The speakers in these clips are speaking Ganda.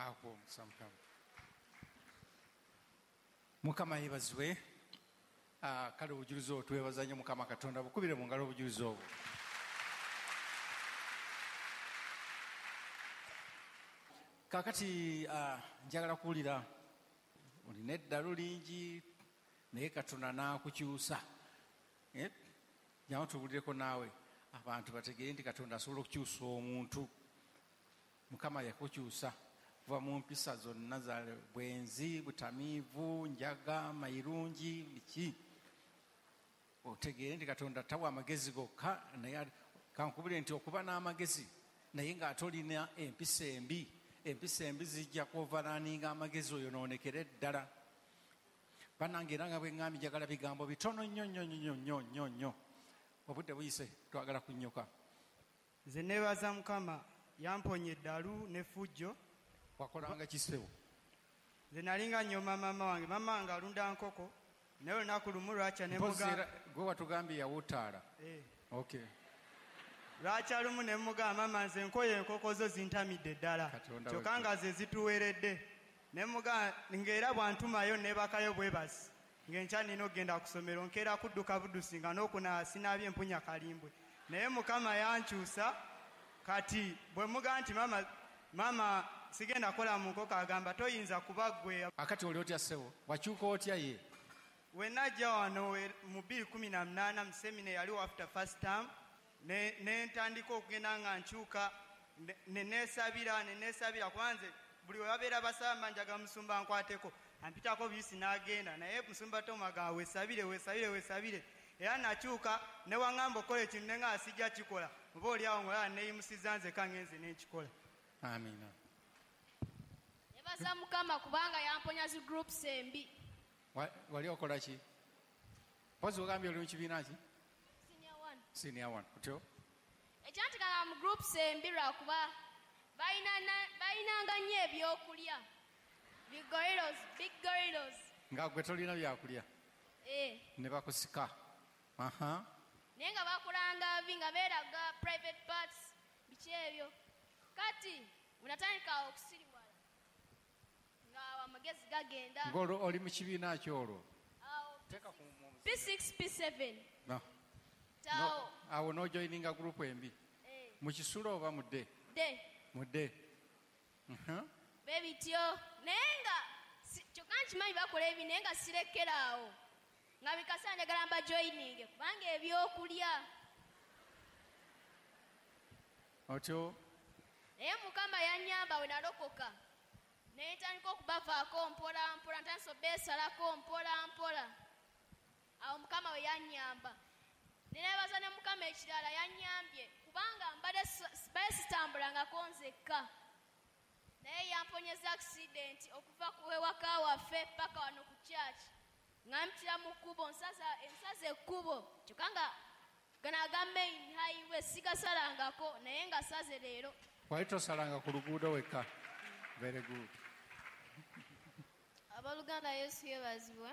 Akuwa omukisa Mukama. Mukama yeebazibwe. Kale obujulizi obwo twebaza nnyo Mukama Katonda. Bukubire mu ngalo obujulizi obwo. Kaakati njagala kuwulira olina eddalu lingi naye Katonda n'akukyusa. Jangu tuwulireko naawe abantu bategeere nti Katonda asobola okukyusa omuntu. Mukama yakukyusa kuva mu mpisa zonna za bwenzi, butamiivu, njaga, mayirungi, biki. Otegeere nti Katonda tawa amagezi gokka, naye kankubule nti okuba n'amagezi naye ng'ate olina empisa embi, empisa embi zijja kuoveraninga amagezi oyonoonekere ddala. Bannange era nga bwe ŋŋambye njagala bigambo bitono nnyo nnyo nnyo nnyo nnyo nnyo. Obudde buyise twagala kunnyuka. Nze neebaza Mukama yamponya eddalu n'effujjo. Wakolanga kisewo? Nze nalinga nnyoma maama wange, maama wange alunda nkoko, naye olunaku lumu lwakya ne mugamba. Gwe watugambye yawutaala. Okay. Lwakya lumu ne mugamba maama nze nkoye enkoko zo zintamidde ddala. Kyokka nga ze zituweredde. Ne mugamba ng'era bw'antumayo neebakayo bwe basi. Ng'enkya nina okugenda ku ssomero nkeera kudduka buddusi nga n'okunaaba sinaabye mpunya kalimbwe. Naye Mukama yankyusa kati bwe mugamba nti maama sigenda kukola mu nkoko agamba toyinza kuba ggwe. Akati oli otya ssebo? Wakyuka otya ye? We najja wano mu 2018 mu semina yaliwo after first term ne ntandika okugenda nga nkyuka ne neesabira kuba nze buli we babeera basaba mba njaga musumba nkwateko ampitako biyisi n'agenda naye musumba Tom agamba weesabire weesabire weesabire era nakyuka ne waŋŋamba okukola ekintu ne nga sijja kikola oba oli awo ng'olaba neeyimusizza nzekka ngenze ne nkikola. Amiina. Nebaza Mukama kubanga yamponya zi groups embi. Wali okola ki? Mpozi ogambye oli mu kibiina ki? Senior one. Senior one. Otyo? Ekyantikanga mu groups embi lwakuba balinanga nnyo ebyokulya. Big gorillas, big gorillas. Nga gwe tolina byakulya? Ne bakusika. Aha. Naye nga bakulanga bi nga beeraga private parts biki ebyo. Kati unatandika okusiriwala nga amagezi gagenda. Ng'olwo oli mu kibiina ki olwo? P6, P7. No. Awo n'ojoininga group embi. Mu kisulo oba mu dde? Dde. Mu dde. Bebityo naye nga kyokka nkimanyi bakola ebi naye nga sirekera awo. Nga bikasa njagala mba joininge kubanga ebyokulya. Otyo? Naye Mukama yannyamba we nalokoka. Ne ntandika okubavaako mpola mpola, ntandise obeesalako mpola mpola. Awo Mukama we yannyamba. Ne neebaza ne Mukama ekirala yannyambye kubanga mbadde sitambulangako nzekka. Naye yamponyeza accident okuva ku ewaka waffe paka wano ku church. Nga mpitira mu kkubo, nsaza ekkubo kyokka nga gano aga main highway sigasalangako naye nga saze leero. Wali tosalanga ku luguudo wekka? Very good. Abooluganda Yesu yeebazibwe.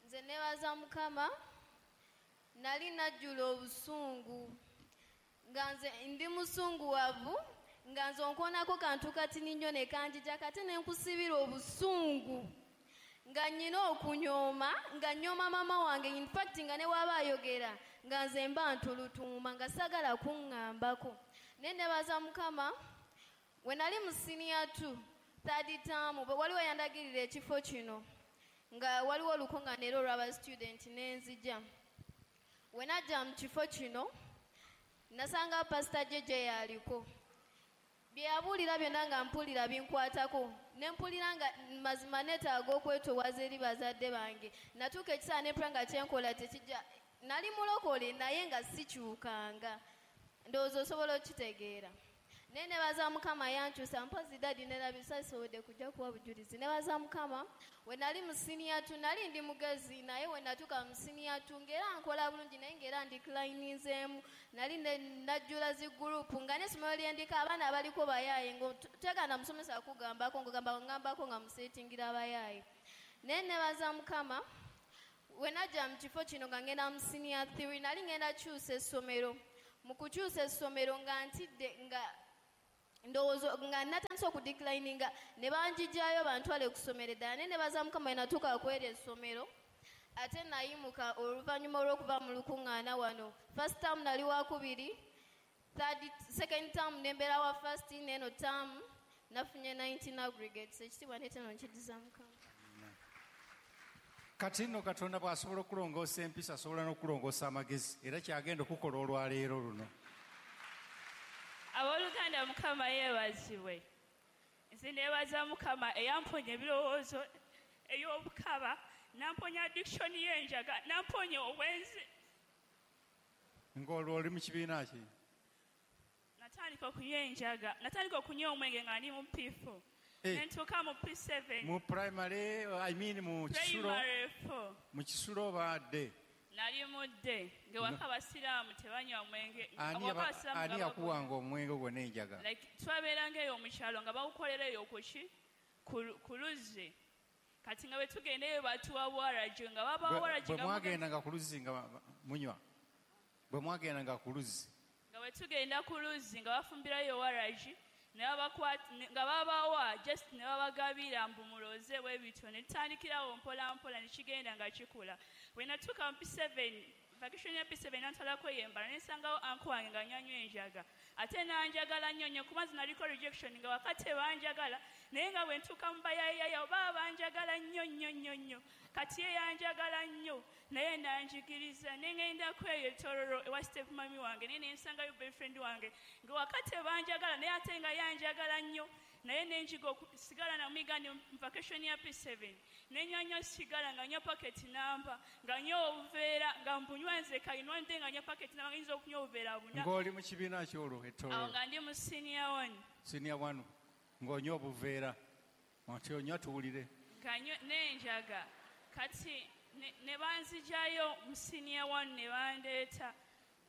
Nze neebaza Mukama nali najjula obusungu nga nze ndi musunguwavu nga nze onkoonako kantu katini nnyo ne kanjija kate ne nkusibira obusungu nga nnyina okunyooma nga nyooma maama wange in fact nga ne waba ayogera nga nze mba ntulutuuma nga saagala kuŋŋambako. Naye neebaza Mukama we nali mu senior 2 third term waliwo yandagirira ekifo kino nga waliwo olukuŋŋaana era olw'aba student ne nzija. We najja mu kifo kino nasanga Pastor JJ yaliko. Bye yabuulira byonna nga mpulira binkwatako ne mpulira nga mazima neetaaga okwetoowaza eri bazadde bange. Natuuka ekiseera ne mpulira nga kyenkola tekijja. Nali mulokole naye nga sikyukanga. Ndowooza osobola okitegeera. Naye neebaza Mukama yankyusa mpozi daddy nerabisa sisobodde kujja kuwa bujulizi. Neebaza Mukama we nali mu senior 2 nali ndi mugezi naye we natuuka mu senior 2 ng'era nkola bulungi naye ng'era ndeclininzeemu. Nali najjula zi group nga n'essomero lye ndiko abaana abaliko bayaaye ng'otegaana musomesa kugambako ng'ogamba ngambako nga museetingira abayaaye. Naye neebaza Mukama we najja mu kifo kino nga ngenda mu senior 3 nali ngenda kyusa essomero. Mu kukyusa essomero nga ntidde nga Ndowooza nga natandise okudeclininga ne banjijjayo bantwale ku ssomero eddala, naye nebaza Mukama natuuka kweri essomero. Ate nayimuka oluvannyuma olw'okuva mu lukuŋŋaana wano. First term nali wakubiri, second term nembeera wa first, neno term nafunye 19 aggregates. Ekitiibwa n'ettendo nkiddiza Mukama. Kati nno Katonda bw'asobola okulongoosa empisa, asobola n'okulongoosa amagezi, era kyagenda okukola olwaleero luno. Abooluganda, Mukama yeebazibwe. Nze neebaza Mukama eyamponya ebirowoozo ey'obukaba, namponya addiction y'enjaga, namponya obwenzi. Ng'olwo oli mu kibiina ki? Natandika okunywa enjaga, natandika okunywa omwenge nga ndi mu P4. Nentuuka mu P7. Mu primary, I mean mu kisulo. Primary 4. Mu kisulo obadde? Nali mudde ng'ewaka abasiraamu tebanywa mwenge. Ani yakuwanga omwenge ogwo n'enjaga? Like twabeeranga eyo mu kyalo nga bawukolera eyo kuki? Ku luzzi. Kati nga bwe tugenda eyo batuwa waragi, nga babawa waragi. Bwe mwagendanga ku luzzi nga munywa? Bwe mwagendanga ku luzzi? Nga bwe tugenda ku luzzi nga bafumbirayo waragi, nga babawa just ne babagabira mbu muloze bwe bityo, ne tutandikirawo mpola mpola ne kigenda nga kikula. Bwe natuuka mu P7, vacation ya P7 nantwalako yembala, ne nsangawo uncle wange nga anywa enjaga. Ate nanjagala nnyo nnyo kuba nze naliko rejection nga wakati tebanjagala, naye nga bwe ntuuka mu bayayaya baba banjagala nnyo nnyo nnyo nnyo. Kati ye yanjagala nnyo naye nanjigiriza, ne ŋŋendako eyo etororo ewa step mami wange, naye ne nsangayo boyfriend wange nga wakati tebanjagala, naye ate nga yanjagala nnyo, naye ne njiga okusigala namuyiga ne vacation ya P7. Ne nywa nnyo sigala nga nywa paketi namba, nga nywa obuveera nga mbunywa nzeka, nywa nde nga nywa paketi namba, ngiyinza okunywa obuveera buna. Ng'oli mu kibiina ki olwo etororo? Awo nga ndi mu senior 1. Senior 1 ng'onywa obuveera, oti onywa tuwulire. Nga nywa n'enjaga. Kati ne banzijayo mu senior 1 ne bandeeta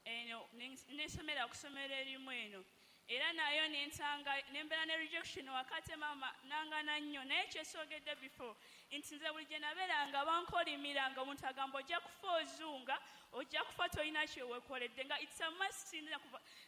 eno, nensomera ku ssomero erimu eno. Era nayo nensanga nembeera ne rejection wakati mama nangana nnyo, naye kyesogedde before nti nze buli gye nabeeranga bankolimiranga, omuntu agamba ojja kufa ozunga, ojja kufa tolina kyeweekoledde, nga it's a must,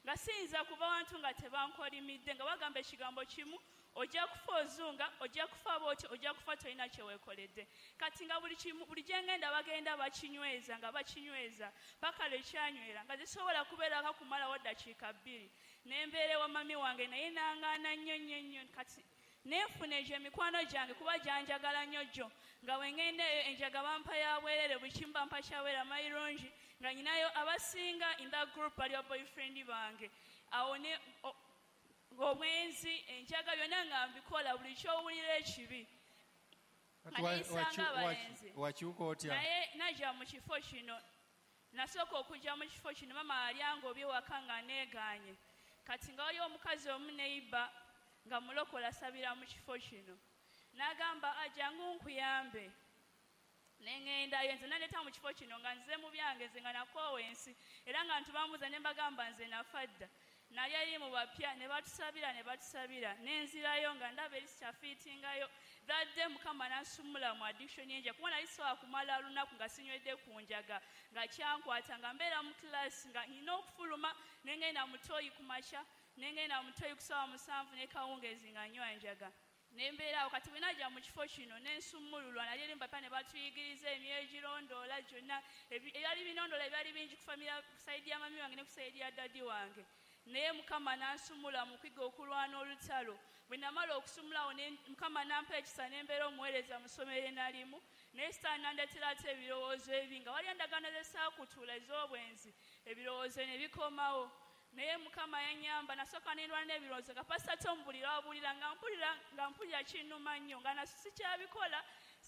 nga siyinza kuva wantu nga tebankolimidde, nga bagamba ekigambo kimu, ojja kufa ozunga, ojja kufa bw'otyo, ojja kufa tolina kyeweekoledde. Kati nga buli kimu, buli gye ngenda bagenda bakinyweza, nga bakinyweza paka lwe kyanywera, nga zisobola kubeerako kumalawo ddakiika 2. Nembeera ewa mami wange naye nangaana nnyo nnyo nnyo. Kati nenfuna egyo emikwano gyange kuba gyanjagala nnyo gyo, nga bwe ŋŋenda eyo enjaga bampa ya bwerere, buli kimu bampa kyabwera mayirungi, nga nyinayo abasinga in that group bali ba boyfriend bange. Awo ne ng'obwenzi, enjaga byonna nga mbikola, buli ky'owulira ekibi. Wakyuka otya? Naye najja mu kifo kino, nasooka okujja mu kifo kino, mama yali angobye waka nga neegaanye. Kati nga waliwo omukazi omu neighbor nga mulokola asabira mu kifo kino, n'agamba jangu nkuyambe. Ne ŋŋendayo nze naleeta mu kifo kino nga nze mu byange, nze nga nakoowa ensi, era nga ntubambuuza ne mbagamba nze nafa dda. Nali eri mu bapya ne batusabira ne batusabira, ne nzirayo nga ndaba eri sikyafiitingayo. That day Mukama n'ansumula mu addiction y'enjaga, kuba nali sisobola kumala lunaku nga sinywedde ku njaga, nga kyankwata, nga mbeera mu class nga nina okufuluma, ne ngenda mu toyi ku makya, ne ngenda mu toyi ku ssaawa 7 ne kawungeezi nga nywa njaga. Ne mbeera awo. Kati bwe najja mu kifo kino ne nsumululwa, nali eri mu bapya ne batuyigiriza emyoyo egirondoola gyonna, ebyali binondoola ebyali bingi ku family, ku sayidi ya mami wange ne ku sayidi ya dadi wange. Naye Mukama n'ansumula mu kwiga okulwana olutalo. Bwe namala okusumulawo Mukama n'ampa ekisa ne mbeera omuweereza mu ssomero nalimu, naye sitaani n'andeetera ate ebirowoozo ebi, nga waliyo endagaano ze saakutuula ez'obwenzi, ebirowoozo ne bikomawo. Naye Mukama yannyamba, nasooka ne ndwana n'ebirowoozo nga Pastor Tom buli lw'abuulira nga mpulira kinnuma nnyo, nga naso sikyabikola,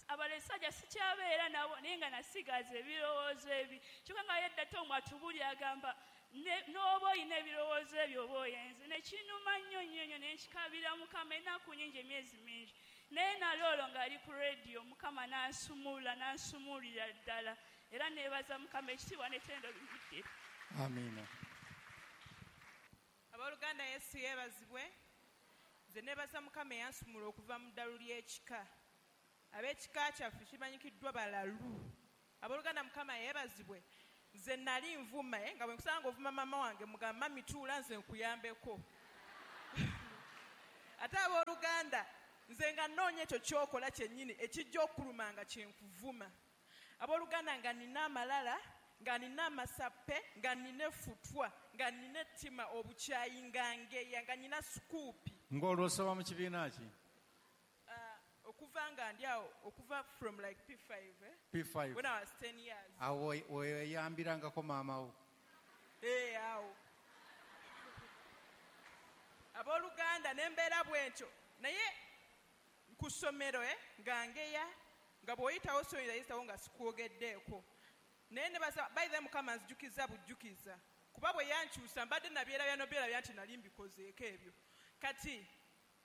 abalesajja sikyabeera nabo, naye nga nasigaza ebirowoozo ebi. Kyokka nga yedda Tom atubuulira agamba n'oba olina ebirowoozo ebyo oba oyenze. Ne kinnuma nnyo nnyo nnyo, ne nkikaabira Mukama ennaku nnyingi, emyezi mingi. Naye nali olwo ng'ali ku rediyo, Mukama n'ansumulula, n'ansumulira ddala. Era neebaza Mukama, ekitiibwa n'ettendo bimuddire. Amiina. Abooluganda, Yesu yeebazibwe. Nze neebaza Mukama eyansumula okuva mu ddalu ly'ekika. Ab'ekika kyaffe kimanyikiddwa balalu. Abooluganda, Mukama yeebazibwe. Nze nali nvuma, nga bwe nkusanga ovuma mama wange, mugamba mami tuula nze nkuyambeko. Ate abooluganda nze nga nnoonya ekyo ky'okola kyennyini ekijja okuluma nga kyenkuvuma. Abooluganda nga nina amalala, nga nina amasappe, nga nina effutwa, nga nina ettima, obukyayi, nga ngeya, nga nina sukuupi. Ng'olwo osoma mu kibiina ki? Okuva nga ndi awo, okuva from like P5, eh? P5. When I was 10 years. Awo weyambirangako maama wo? Eh, awo. Abooluganda nembeera bwentyo, naye ku ssomero nga ngeya, nga bw'oyitawo soyinza yitawo nga sikwogeddeeko. Naye nebaza by the Mukama nzijukiza bujjukiza, kuba bwe yankyusa mbadde nabyerabya nobyerabya nti nali mbikozeeko ebyo. Kati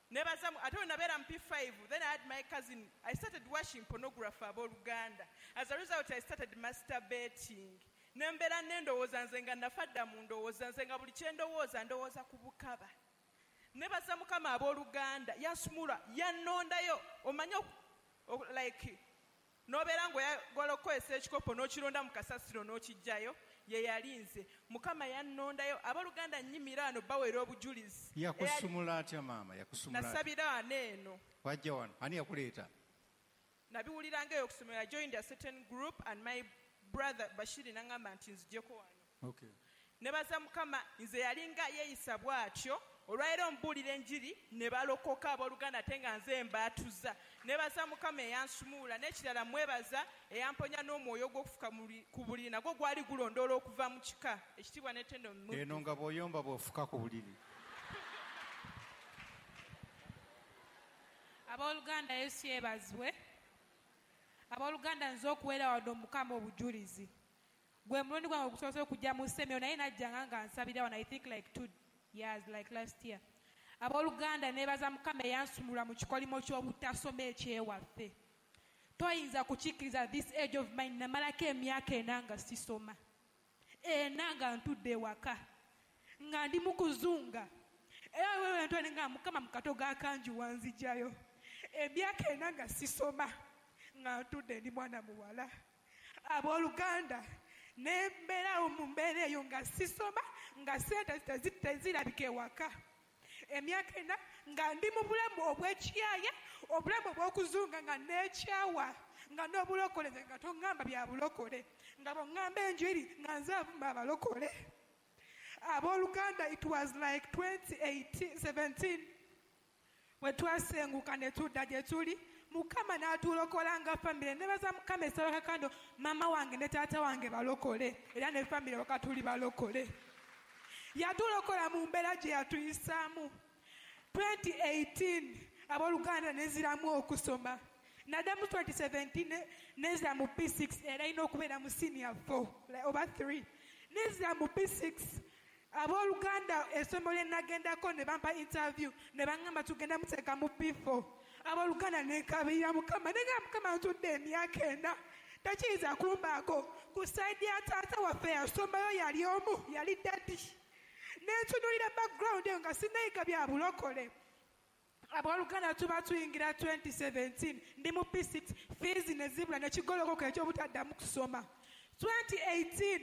nebaza ate bwe nabeera mu P5, then I had my cousin, I started watching pornography abooluganda. As a result I started masturbating. Nembeera nendowooza nze nga nafa dda mu ndowooza nze nga buli kye ndowooza ndowooza ku bukaba. Nebaza Mukama abooluganda yansumula yannondayo. Omanye like n'obeera ng'oyagala okukozesa ekikopo n'okironda mu kasasiro n'okiggyayo, ye yali nze. Mukama yannondayo. Abooluganda nnyimira wano baweera obujulizi. Yakusumula atya maama? Yakusumula atya? Nasabira wano eno. Wajja wano, ani yakuleeta? Nabiwuliranga eyo okusomera. I joined a certain group and my brother Bashiri n'aŋŋamba nti nzijeko wano. Okay. Nebaza Mukama nze yalinga yeeyisa bw'atyo. Olwaleero mbuulira enjiri ne balokoka abooluganda ate nga nze mbaatuza. Nebaza Mukama eyansumula. N'ekirala mwebaza eyamponya n'omwoyo gw'okufuka ku buliri, nagwo gwali gulondoola okuva mu kika. Ekitiibwa n'ettendo mu Eno nga bw'oyomba bw'ofuka ku buliri. Abooluganda Yesu yeebazibwe. Abooluganda nze okuweera wano Mukama obujulizi. Gwe mulundi gwange ogusoose okujja mu ssemero, naye najjanga nga nsabira wano, I think like 2 years, like last year. Abooluganda neebaza Mukama eyansumulula mu kikolimo ky'obutasoma ekyewaffe. Toyinza kukikkiriza this age of mine, namalako emyaka 4 nga sisoma. 4 nga ntudde ewaka, nga ndi mu kuzunga. Era wewe ntwale nga Mukama mu kato g'akangi wanzigyayo. Emyaka 4 nga sisoma, nga ntudde ndi mwana muwala. Abooluganda nembeerawo mu mbeera eyo nga sisoma, nga ssente tezirabika ewaka. Emyaka 4 nga ndi mu bulamu obw'ekiyaya, obulamu obw'okuzunga, nga neekyawa, nga n'obulokole nze nga toŋŋamba bya bulokole, nga bw'oŋŋamba enjiri nga nze avuma abalokole. Abooluganda it was like 2017 bwe twasenguka ne tudda gye tuli, Mukama n'atulokola nga famire. Nebaza Mukama essaba kakando maama wange ne taata wange balokole, era ne famire waka tuli balokole. Yatulokola mu mbeera gye yatuyisaamu. 2018 abooluganda nenziramu okusoma. Naddamu 2017 nenzira mu P6, era erina okubeera mu senior 4 oba 3. Nenzira mu P6. Abooluganda essomero lye nagendako ne bampa interview ne baŋŋamba tugenda muteeka mu P4. Abooluganda nenkabirira Mukama, nenga Mukama ntudde emyaka 4 tekiyinza kumbaako. Ku sayidi ya taata waffe yasomayo yali omu, yali daddy. Nentunuulira background eyo nga sinnayiga bya bulokole. Abooluganda tuba tuyingira 2017 ndi mu P6, fees ne zibula ne kigolokoka eky'obutaddamu kusoma. 2018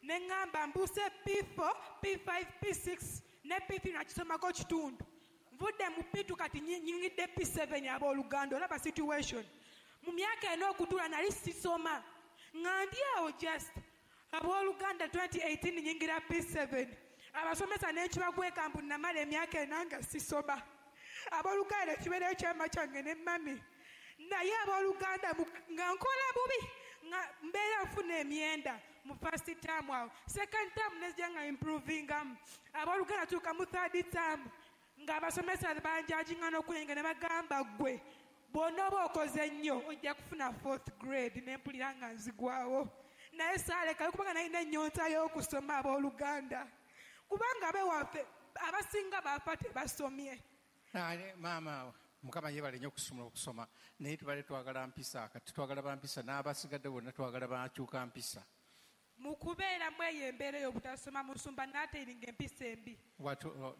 ne ŋŋamba mbuuse P4, P5, P6 ne P3 nakisomako kitundu. Nvudde mu P2 kati nnyingidde P7. Abooluganda olaba situation. Mu myaka 4 okutuula nali sisoma, nga ndi awo just. Abooluganda 2018 nnyingira P7. Abasomesa n'ekibagweka mbu namala emyaka 4 nga sisoma. Abooluganda ekibeera ekyama kyange ne mami. Naye abooluganda nga nkola bubi, nga mbeera nfuna emyenda mu first term awo. Second term nezija nga improvingamu. Abooluganda tuuka mu third term ng'abasomesa banjajinga n'okuyinga ne bagamba ggwe bw'onooba okoze nnyo ojja kufuna 4th grade. Ne mpulira nga nzigwawo. Naye saalekayo kubanga nalina ennyonta y'okusoma abooluganda. Kubanga abewaffe abasinga baafa tebasomye. Maama Mukama yeebale nnyo okusumula okusoma, naye tubadde twagala mpisa, kati twagala bampisa n'abasigadde bonna twagala bakyuka mpisa. Mu kubeeramu eyo embeera ey'obutasoma musumba n'ateiringa empisa embi.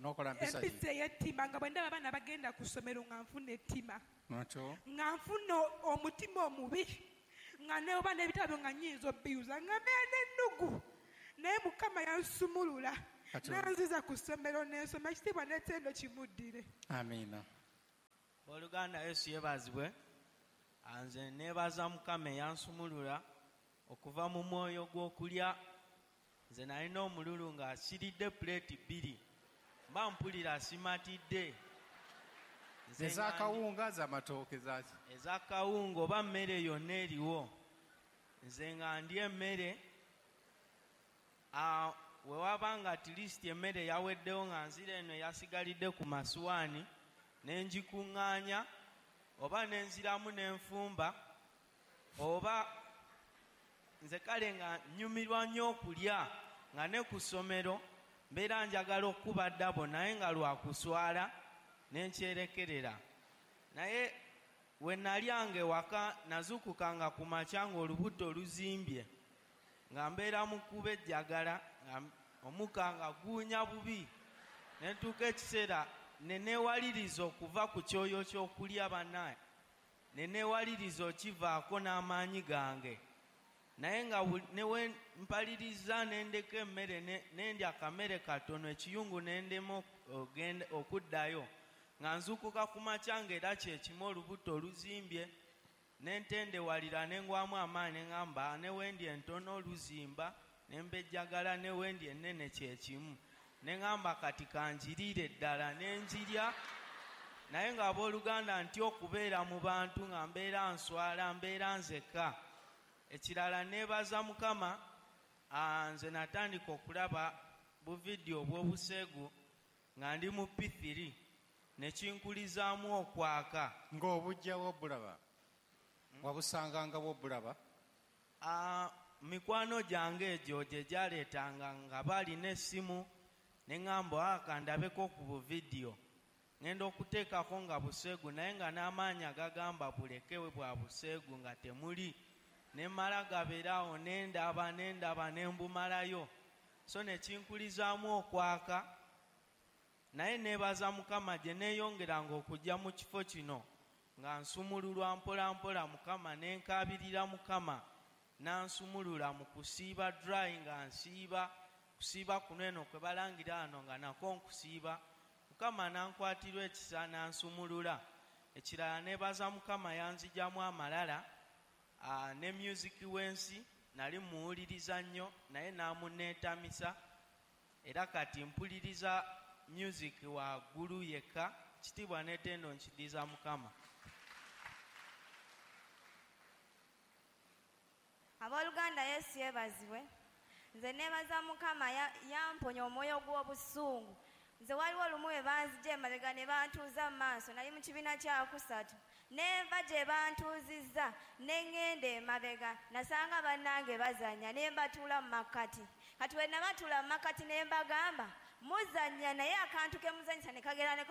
N'okola mpisa ki? Empisa ey'ettima, nga bwe ndaba abaana bagenda ku ssomero nga nfuna ettima. Nga nfuna omutima omubi, nga neoba n'ebitabo nga nnyinza obbiyuza, nga mbeera n'ennugu. Naye Mukama yansumulula. Nanziza ku ssomero n'ensoma, ekitiibwa n'ettendo kimuddire. Amiina. Abooluganda, Yesu yeebazibwe. Nze neebaza Mukama eyansumulula okuva mu mwoyo gw'okulya. Nze nalina omululu nga asiridde puleeti 2, mba mpulira simatidde. Nze nga Ez'akawunga, z'amatooke, zaki? Ez'akawunga oba mmere yonna eriwo. Nze nga ndya emmere, we waba nga at least emmere yaweddewo, nga nzira eno yasigalidde ku masuwaani ne ngikuŋŋaanya, oba ne nziramu ne nfumba, oba nze kale nga nnyumirwa nnyo okulya, nga ne ku ssomero mbeera njagala okuba ddabo, naye nga lwa kuswala ne nkyerekerera. Naye we nalyanga ewaka, nazuukukanga ku makya ng'olubuto luzimbye, nga mbeera mu kkuba ejjagala, nga omukka nga guwunya bubi. Ne ntuuka ekiseera ne neewaliriza okuva ku kyoyo ky'okulya bannaye, ne neewaliriza okivaako n'amaanyi gange. Naye nga ne we mpaliriza ne ndeka emmere, ne ndya akamere katono, ekiyungu ne ndema okuddayo. Nga nzuukuka ku makya ng'era kye kimu, olubuto oluzimbye, ne ntendewalira ne ngwamu amaanyi, ne ŋŋamba ne we ndya entono oluzimba, ne mbejjagala, ne we ndya ennene kye kimu. Ne ŋŋamba kati kanjiriire ddala, ne njirya. Naye ng'abooluganda ntya okubeera mu bantu, nga mbeera nswala, mbeera nzekka. Ekirala neebaza Mukama, nze natandika okulaba buvidiyo obw'obuseegu nga ndi mu P3, ne kinkulizaamu okwaka. Ng'obujja bw'obulaba? Wabusanganga bw'obulaba? Mikwano gyange egyo gye gyaleetanga nga balina essimu, ne ŋŋamba kandabeko ku buvidiyo. Ŋŋenda okuteekako nga buseegu, naye nga n'amaanyi agagamba bulekewe bwa buseegu nga temuli. Ne mmala gabeera awo, ne ndaba, ne ndaba, ne mbumalayo. So ne kinkulizaamu okwaka. Naye neebaza Mukama gye neeyongeranga okujja mu kifo kino, nga nsumululwa mpola mpola Mukama, ne nkaabirira Mukama, n'ansumulula mu kusiiba dry, nga nsiiba, kusiiba kuno eno kwe balangira wano nga nako nkusiiba. Mukama n'ankwatirwa ekisa n'ansumulula. Ekirala neebaza Mukama yanzigyamu amalala, ne music w'ensi nali muwuliriza nnyo, naye n'amuneetamisa, era kati mpuliriza music waggulu yekka. Kitiibwa n'ettendo nkiddiza Mukama. Abooluganda, Yesu yeebazibwe. Nze neebaza Mukama yamponya omwoyo gw'obusungu. Nze waliwo olumu we banzigya emabega ne bantuuza mu maaso, nali mu kibiina kyakusatu, ne nva gye bantuuzizza ne ŋŋenda emabega, nasanga bannange bazannya, ne mbatuula mu makkati. Kati we nabatuula mu makkati ne mbagamba muzannya, naye akantu ke muzannyisa ne kagera ne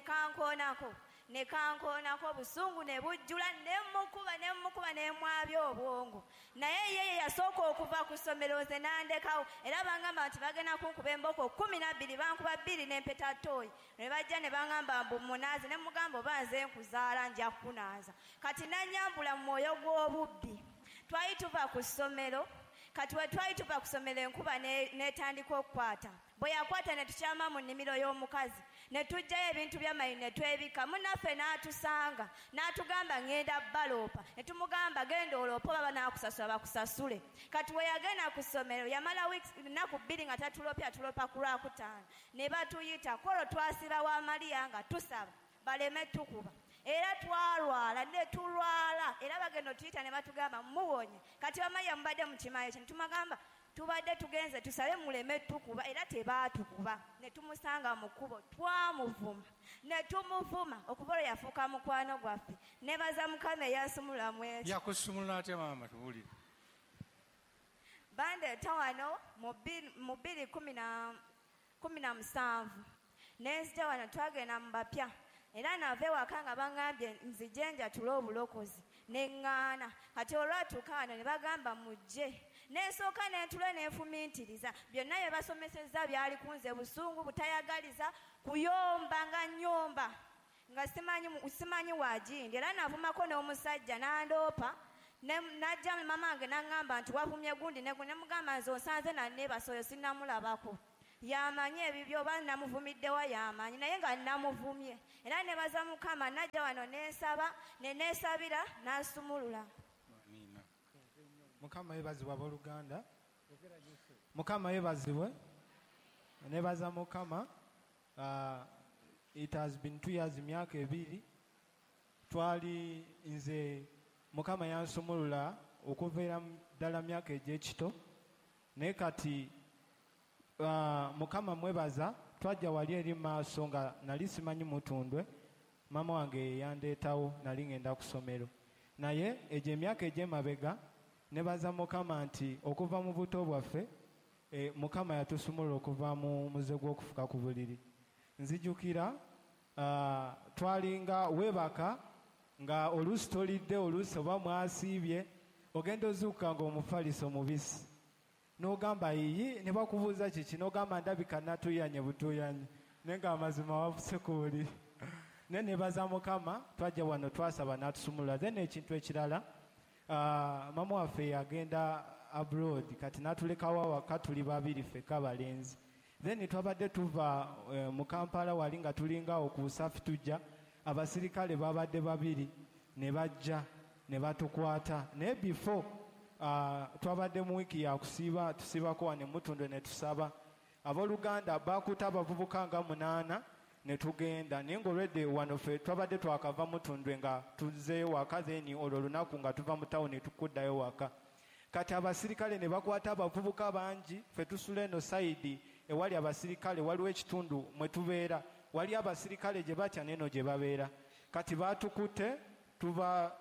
kankoonako, ne kankoonako, obusungu ne bujjula, ne mmukuba, ne mmukuba, ne mwabya obwongo. Naye ye ye yasooka okuva ku ssomero, nze n'andekawo. Era bangamba nti bagenda kunkuba emboko 12, bankuba 2 n'empeta ttooyi. Ne bajja ne bangamba mbu munaaze, ne mugamba oba nze nkuzaala nja kukunaaza. Kati nannyambula mu mwoyo gw'obubbi. Twali tuva ku ssomero, kati we twali tuva ku ssomero enkuba n'etandika okukwata. Bwe yakwata ne tukyama mu nnimiro y'omukazi, ne tuggyayo ebintu by'amayini ne twebika. Munnaffe n'atusanga n'atugamba ŋŋenda baloopa, ne tumugamba genda oloope, oba banaakusasula bakusasule. Kati we yagenda ku ssomero yamala nnaku 2 nga tatuloopye, atuloopa ku Lwakutaano. Ne batuyita kwolwo twasiba wa Mariya nga tusaba baleme tukuba. Era twalwala ne tulwala, era bagenda otuyita ne batugamba muwonye. Kati bamaliya mubadde mukimanyi kye, ne tumugamba tubadde tugenze tusabe muleme tukuba, era tebaatukuba. Ne tumusanga mu kkubo, twamuvuma ne tumuvuma, okuva olwo yafuuka mukwano gwaffe. Neebaza Mukama eyansumulula mu ekyo. Yakusumulula atya maama, tubuulire? Bandeeta wano mu 2017, ne nzija wano, twagenda mu bapya. Era nava ewaka nga baŋŋambye nzije njatule obulokozi, ne ŋŋaana. Kati olwatuuka wano ne bagamba mujje, ne nsooka ne ntula ne nfumiitiriza. Byonna bye basomesezza byali ku nze, busungu, butayagaliza, kuyomba nga nnyomba, nga simanyi waagindi. Era navumako n'omusajja n'andoopa, n'ajja mama wange n'aŋŋamba nti wavumye gundi ne gundi. Ne mugamba nze onsanze nanneebasa, oyo sinnamulabako. Yamanyi ebibyo oba namuvumiddewa yamanyi, naye nga namuvumye. Era nebaza Mukama, najja wano nensaba ne neesabira n'asumulula. Amiina. Mukama yeebazibwe abooluganda. Mukama yeebazibwe. Nebaza Mukama. It has been 2 years, emyaka 2 twali nze Mukama yansumulula okuviira ddala myaka egy'ekito, naye kati Mukama mwebaza, twajja wali eri maaso nga nali simanyi Mutundwe, maama wange yandeetawo, nali ngenda ku ssomero. Naye egyo emyaka egy'emabega nebaza Mukama nti okuva mu buto bwaffe Mukama yatusumulula okuva mu muze gw'okufuka ku buliri. Nzijukira twalinga weebaka nga oluusi tolidde, oluusi oba mwasiibye, ogenda ozuukuka ng'omufaliso mubisi, n'ogamba yiyi, ne bakubuuza kiki, n'ogamba ndabika natuuyanye butuuyanye, naye ng'amazima wafuse ku buliri. Naye nebaza Mukama, twajja wano twasaba n'atusumulula. Then ekintu ekirala, maama waffe yagenda abroad, kati n'atulekawo awaka tuli babiri ffekka abalenzi. Then twabadde tuva mu Kampala wali nga tulinga awo ku Busafi tujja, abasirikale babadde babiri ne bajja ne batukwata. Naye before twabadde mu wiiki ya kusiiba, tusiibako wano e Mutundwe ne tusaba. Abooluganda baakuta abavubuka nga 8 ne tugenda, naye ng'olwedde wano ffe twabadde twakava Mutundwe nga tuzzeeyo waka, then olwo olunaku nga tuva mu tawuni tukuddayo waka. Kati abasirikale ne bakwata abavubuka bangi, ffe tusula eno sayidi ewali abasirikale, waliwo ekitundu mwe tubeera, wali abasirikale gye batya n'eno gye babeera. Kati baatukutte,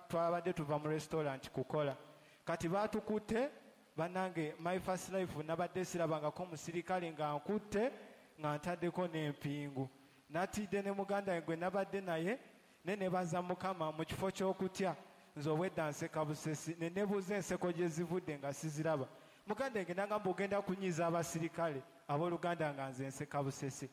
twabadde tuva mu restaurant kukola. Kati baatukutte, bannange, my first life nabadde sirabangako omusirikale nga nkutte nga ntaddeko n'empingu. Natidde ne muganda wange gwe nabadde naye, ne nebaza Mukama mu kifo ky'okutya nze obwedda nseka busesi, ne nebuuza enseko gye zivudde nga siziraba. Muganda wange n'angamba ogenda kunyiiza abasirikale, abooluganda nga nze nseka busesi.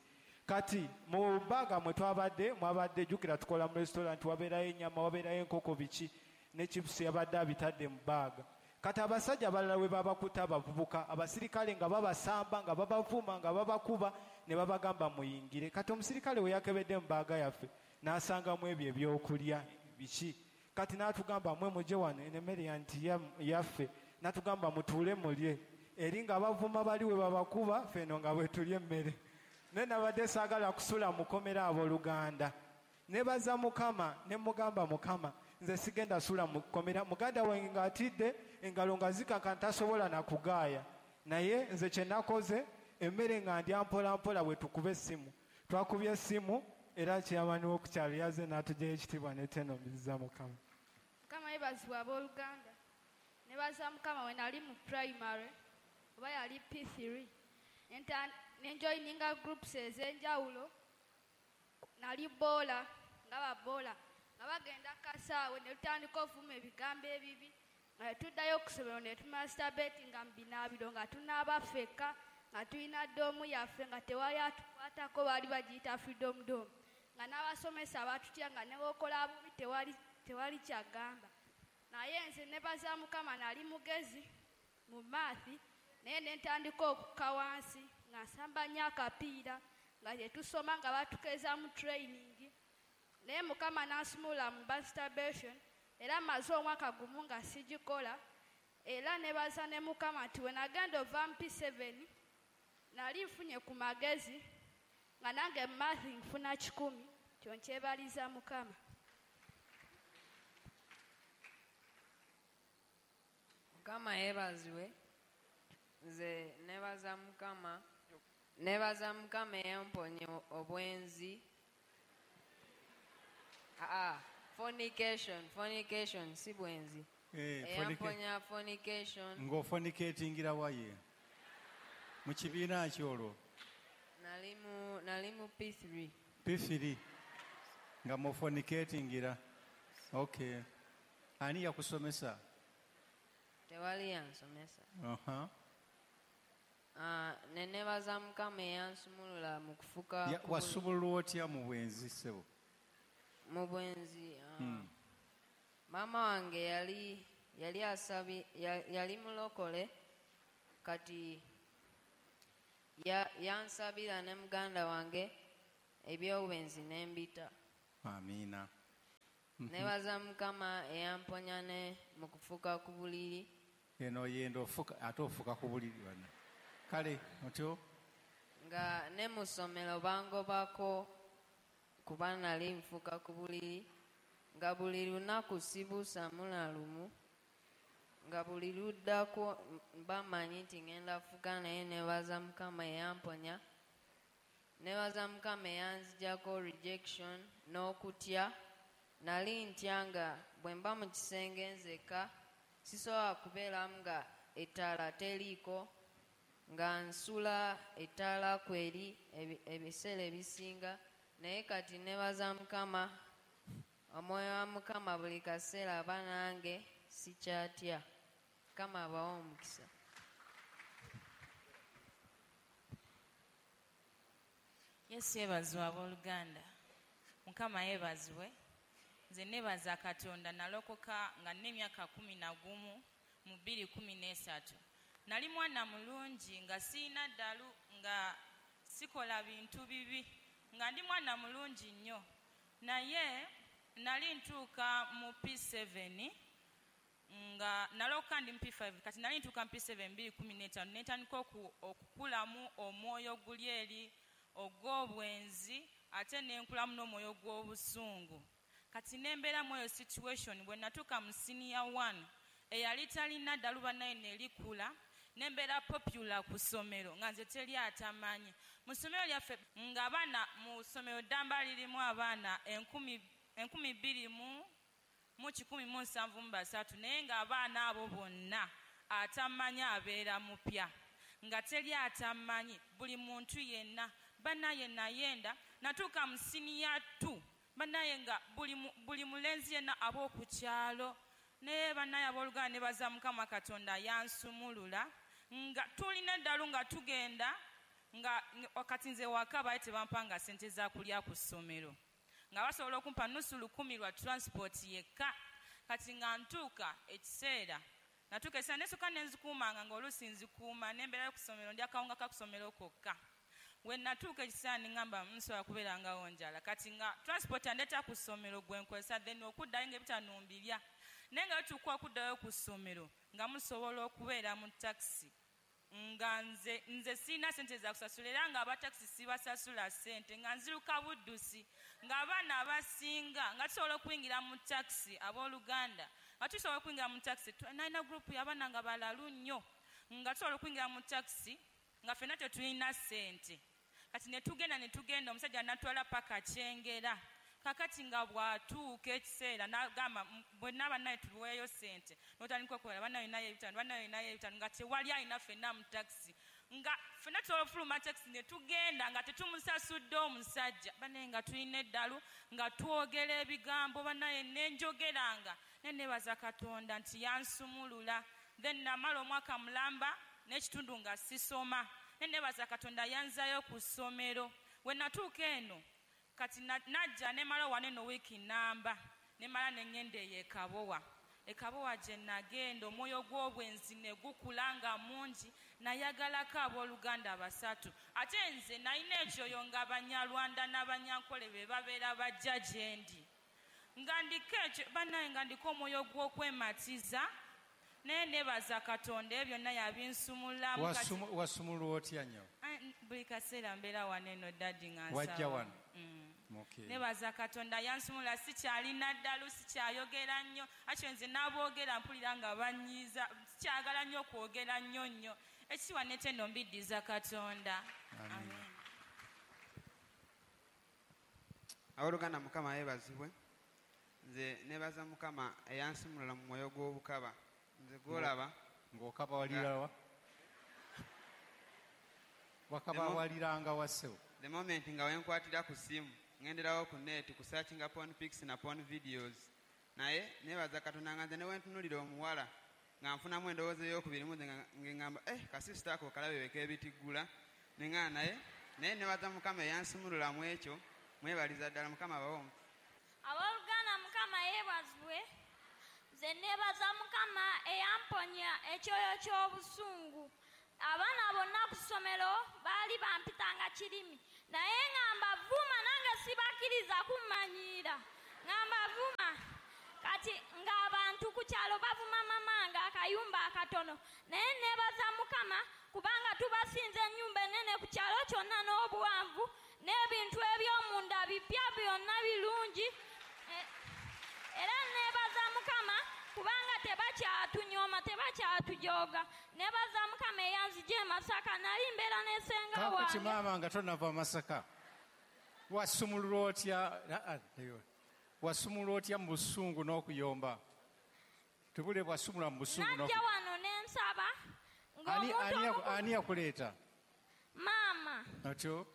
Kati mu bbaaga mwe twabadde, mwabadde jjukira tukola mu restaurant, wabeerayo ennyama, wabeerayo enkoko biki, ne chips yabadde abitadde mu bbaaga. Kati abasajja abalala we babakuta abavubuka, abasirikale nga babasamba, nga babavuma, nga babakuba, ne babagamba muyingire. Kati omusirikale we yakebedde mu bbaaga yaffe n'asangamu ebyo ebyokulya biki. Kati n'atugamba mwe mujje wano, eno emmere nti yaffe, n'atugamba mutuule mulye. Eri nga bavuma bali we babakuba, ffe eno nga bwe tulya emmere. Naye nabadde saagala kusula mukomera abooluganda. Nebaza Mukama, ne mugamba Mukama, nze sigenda sula mukomera. Muganda wange ng'atidde, engalo nga zikaka ntasobola na kugaaya. Naye nze kye nakoze, emmere nga ndya mpola mpola bwe tukuba essimu. Twakubye essimu, era chairman w'oku kyalo yazze n'atuggyayo ekitiibwa ne tenomiriza Mukama. Mukama yeebazibwe abooluganda. Nebaza Mukama we nali mu primary, oba yali P3. Nenjoininga groups ez'enjawulo. Nali boola, nga baboola, nga bagenda kasaawe ne tutandika okuvuma ebigambo ebibi, nga tuddayo ku ssomero ne tumasturbate nga mu binaabiro, nga tunaaba ffekka, nga tulina dorm yaffe, nga tewali atukwatako, baali bagiyita freedom dorm, nga n'abasomesa batutya, nga ne bw'okola bubi tewali kyagamba. Naye nze nebaza Mukama, nali mugezi mu math, naye ne ntandika okukka wansi nga nsamba nnyo akapiira, nga tetusoma, nga batukeeza mu training. Naye Mukama n'ansumulula mu masturbation, era mmaze omwaka gumu nga sigikola. Era nebaza ne Mukama nti we nagenda ova mu P7 nali nfunye ku magezi, nga nange math nfuna 100, kyo nkyebaliza Mukama. Mukama yeebazibwe. Nze nebaza Mukama, nebaza Mukama eyamponya obwenzi. Fornication, fornication si bwenzi. Eyamponya fornication. Ng'ofornicatingira waye mu kibiina ki olwo? Nali mu P3. P3 nga mufornicatingira. Okay. Ani yakusomesa? Tewali yansomesa. Ne nebaza Mukama eyansumulula mu kufuka. Wasumululwa otya mu bwenzi ssebo? Mu bwenzi, maama wange yali asabi, yali mulokole, kati Yansabira ne muganda wange ebyobwenzi n'embita. Amiina. Nebaza Mukama eyamponya ne mu kufuka ku buliri. Eno yenda ofuka ate ofuka ku buliri bana. Kale otyo nga ne mu ssomero bangobako kuba nali nfuka ku buliri, nga buli lunaku sibuusamu na lumu, nga buli luddako bamanyi nti ngenda fuka, naye nebaza Mukama eyamponya. Nebaza Mukama eyanzigyako rejection n'okutya. Nali ntya nga bwe mba mu kisenge nzekka sisobola kubeeramu nga ettaala teriiko, nga nsula ettaala kweri ebiseera ebisinga, naye kati nebaza Mukama, omwoyo wa Mukama buli kaseera aba nange, sikyatya. Mukama abawe omukisa. Yesu yeebazibwe abooluganda. Mukama yeebazibwe. Nze neebaza Katonda, nalokoka nga nina emyaka 11 mu 2013. Nali mwana mulungi nga sirina ddalu, nga sikola bintu bibi, nga ndi mwana mulungi nnyo. Naye nali ntuuka mu P7 nga nalokoka ndi mu P5, kati nali ntuuka mu P7 2015 ne ntandika okukulamu omwoyo guli eri ogw'obwenzi, ate ne nkulamu n'omwoyo gw'obusungu. Kati ne mbeeramu eyo situation. Bwe natuuka mu senior 1 eyali talina ddalu bannaye ne likula, ne mbeera popular ku ssomero nga nze teri atamanyi. Mu ssomero lyaffe ng'abaana mu ssomero ddamba lirimu abaana 2173, naye ng'abaana abo bonna atamanyi abeera mupya, nga teri atamanyi, buli muntu yenna. Bannaye nayenda natuuka mu senior 2, bannaye nga buli mulenzi yenna ab'oku kyalo. Naye bannaye abooluganda nebaza Mukama Katonda yansumulula, nga tulina eddalu nga tugenda nga wakati nze waka baali tebampanga ssente za kulya ku ssomero, nga basobola okumpa nusu 1000 lwa transport yekka. Kati nga ntuuka ekiseera, natuuka ekiseera nesooka ne nzikuumanga, ng'oluusi nzikuuma nembeerayo ku ssomero, ndya akawunga ka ku ssomero kokka. We natuuka ekiseera ne ŋŋamba nsobola kubeerangawo njala. Kati nga transport andeeta ku ssomero gwe nkozesa, then okuddayo ng'ebitaano mbirya. Naye nga tutuuka okuddayo ku ssomero nga musobola okubeera mu takisi, nga nze sirina ssente za kusasula, era nga abatakisi sibasasula ssente, nga nziruka buddusi, ng'abaana abasinga nga tusobola okuyingira mu takisi. Abooluganda, nga tusobola okuyingira mu takisi, nalina gurupu y'abaana nga balalu nnyo, nga tusobola okuyingira mu takisi nga ffenna tetulina ssente. Kati ne tugenda, omusajja n'atwala paka Kyengera. Kakati nga bw'atuuka ekiseera n'agamba bwenna bannaye tuweeyo ssente, n'otandika okukola bannaye naye ebitaano, bannaye naye ebitaano, nga tewali alina ffenna mu takisi, nga ffenna tusobola okufuluma takisi ne tugenda nga tetumusasudde omusajja. Bannaye nga tulina eddalu, nga twogera ebigambo, bannaye nenjogeranga, naye neebaza Katonda nti yansumulula. Then namala omwaka mulamba n'ekitundu nga sisoma, naye neebaza Katonda yanzaayo ku ssomero. We natuuka eno kati najja nemala wano eno wiiki namba, nemala ne ŋŋenda eyo e Kabowa. E Kabowa gye nagenda omwoyo gw'obwenzi ne gukula nga mungi, nayagalako abooluganda 3. Ate nze nalina ekyoyo nga Banyarwanda n'Abanyankole be babeera bajja gye ndi, nga ndiko ekyo bannaye, nga ndiko omwoyo gw'okwematiza. Naye neebaza Katonda ebyo byonna yabinsumulamu. Wasumulwa otya nnyo? Buli kaseera mbeera wano eno daddy nga nsaba. Wajja wano? Nebaza Katonda yansumula, sikyalina ddalu, sikyayogera nnyo. Akyo nze n'aboogera mpulira nga banyiiza, sikyagala nnyo kwogera nnyo nnyo. Ekitiibwa n'ettendo mbiddiza Katonda. Amen. Abooluganda Mukama yeebazibwe. Nze neebaza Mukama eyansumulula mu mwoyo gw'obukaba. Nze gw'olaba ng'okaba walirawa? Wakaba waliranga wa ssebo? The moment nga wenkwatira ku ssimu ngenderawo ku net ku searchinga porn pics na porn videos. Naye neebaza Katonda nga nze ne wentunulira omuwala nga nfunamu endowooza ey'okubiri mu nze nga ŋŋamba kasisita ako kalabe k'ebitiggula, ne ŋŋamba naye neebaza Mukama eyansumulula mu ekyo, mwebaliza ddala Mukama abawe omukisa. Abooluganda Mukama yeebazibwe. Nze neebaza Mukama eyamponya ekyoyo ky'obusungu. Abaana bonna ku ssomero baali bampitanga kirimi, naye nga mbavuma, nange sibakkiriza kummanyiira, nga mbavuma. Kati ng'abantu ku kyalo bavuma mama nga akayumba akatono, naye neebaza Mukama kubanga tubasinza ennyumba ennene ku kyalo kyonna n'obuwanvu, n'ebintu eby'omunda bipya byonna birungi. Era neebaza Mukama kubanga tebakyatunyoma, tebakyatujooga. Neebaza Mukama eyanzija e Masaka, nali mbeera ne ssenga Kaakati wange. Maama, nga tonava Masaka, wasumululwa otya? Wasumulwa otya mu busungu n'okuyomba? Tubule bwasumulwa mu busungu Najja n'okuyomba. wano ne nsaba Ani ng'omuntu ani yaku- ani yakuleeta? Maama. Otyo.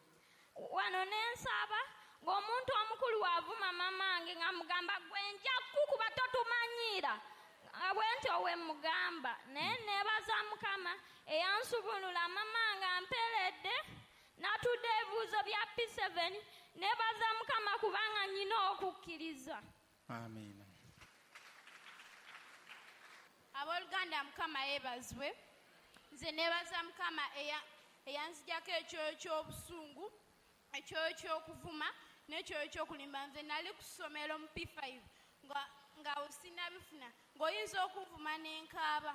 Wano ne nsaba ng'omuntu omukulu wavuma mamange nga mugamba, "Gwe nja kukuba, totumanyiira," nga bwe ntyo we mugamba. Naye neebaza Mukama eyansubulula. Mama nga mperedde, natudde ebibuuzo bya P7. Neebaza Mukama kubanga nnina okukkiriza. Amiina. Abooluganda, Mukama yeebazibwe. Nze neebaza Mukama eyanzijako ekyoyo ky'obusungu, ekyoyo ky'okuvuma n'ekyoyo ky'okulimba. Nze nali ku ssomero mu P5 nga sinabifuna, ng'oyinza okunvuma n'enkaaba,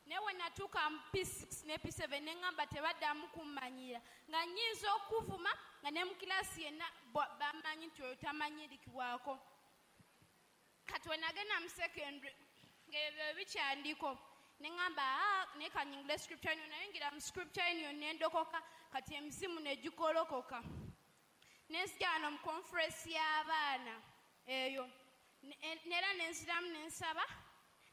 naye we natuuka mu P6 ne P7 ne ŋŋamba tebaddamu kummanyira, nga nnyinza okuvuma nga ne mu kirasi yenna bamanyi nti oyo tamanyirikibwako. Kati we nagenda mu secondary ng'ebyo bikyandiko, ne ŋŋamba, "Ah, naye kanyingule Scripture Union." Nayingira mu Scripture Union ne ndokoka. Kati emizimu ne gikolokoka, nenzija wano mu conference y'abaana eyo. Neera nenziramu nensaba,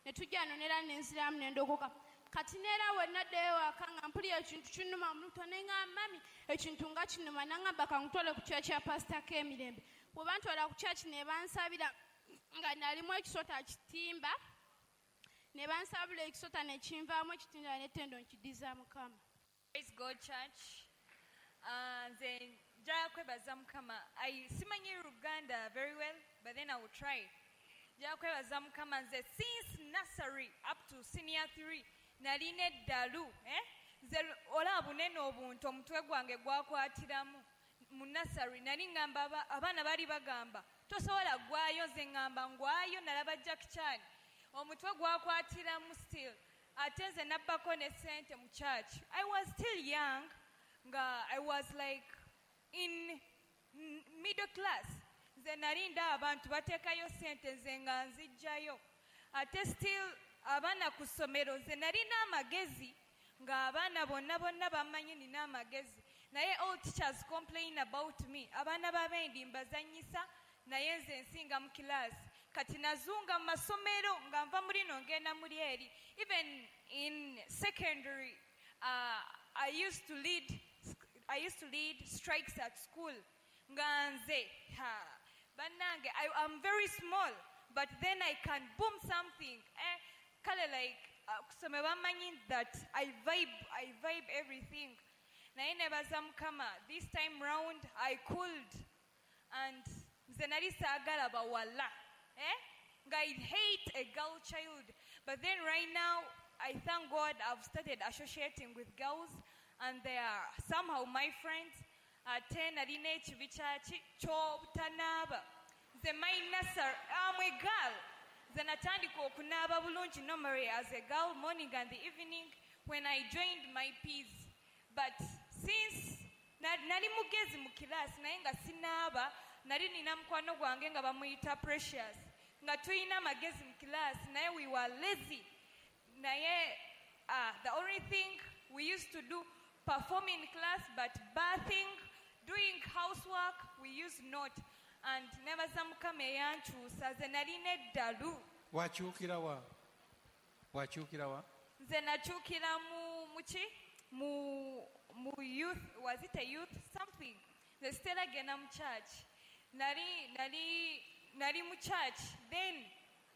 ne tujja wano neera nenziramu nendokoka. Kati neera we naddayo waka nga mpulira ekintu kinnuma mu lubuto, ne ŋŋamba, "Mami, ekintu nga kinnuma." Naŋŋamba kankutwale ku church ya Pastor K'emirembe. Bwe bantwala ku church ne bansabira, nga nalimu ekisota kitimba, ne bansabula ekisota ne kinvaamu ekitimba n'ettendo nkidiza Mukama. Praise God, church. Nze njagala kwebaza Mukama. I simanyi Luganda very well, but then I will try. Njagala kwebaza Mukama, nze since nursery up to senior 3 nalina eddalu. Eh? Nze olaba bunene obuntu, omutwe gwange gwakwatiramu mu nursery. Nali ngamba abaana baali bagamba tosobola gwayo, nze ngamba ngwayo. Nalaba Jackie Chan, omutwe gwakwatiramu still. Ate nze nabbako ne ssente mu church. I was still young, nga I was like in middle class. Nze nali ndaba abantu bateekayo ssente, nze nga nzijjayo. Ate still abaana ku ssomero, nze nalina amagezi, ng'abaana bonna bonna bamanyi nina amagezi, naye all teachers complain about me. Abaana b'abendi mbazannyisa, naye nze nsinga mu kilaasi. Kati nazunga mu masomero nga nva muri no ngenda muri eri. Even in secondary, I used to lead strikes at school. Nga nze ha, bannange, I am very small, but then I can boom something, eh? Kale like kusome bamanyi that I vibe everything. Naye nebaza Mukama, this time round I cooled, and nze nali saagala bawala, eh? Nga I hate a girl child, but then right now I thank God I've started associating with girls and they are somehow my friends. Ate nalina ekibi kyaki ky'obutanaaba. Nze my nursery, I'm a girl, nze natandika okunaaba bulungi normally as a girl, morning and the evening, when I joined my peace. But since nali mugezi mu kilaasi, naye nga sinaaba. Nali nina mukwano gwange nga bamuyita Precious, nga tulina amagezi mu kilaasi, naye we were lazy. Naye the only thing we used to do, perform in class, but bathing, doing housework, we used not. And nebaza Mukama eyankyusa. Nze nalina eddalu. Wakyukira wa? Wakyukira wa? Nze nakyukira mu muki mu youth, was it a youth something? Nze sitera genda mu church. Nali mu church, then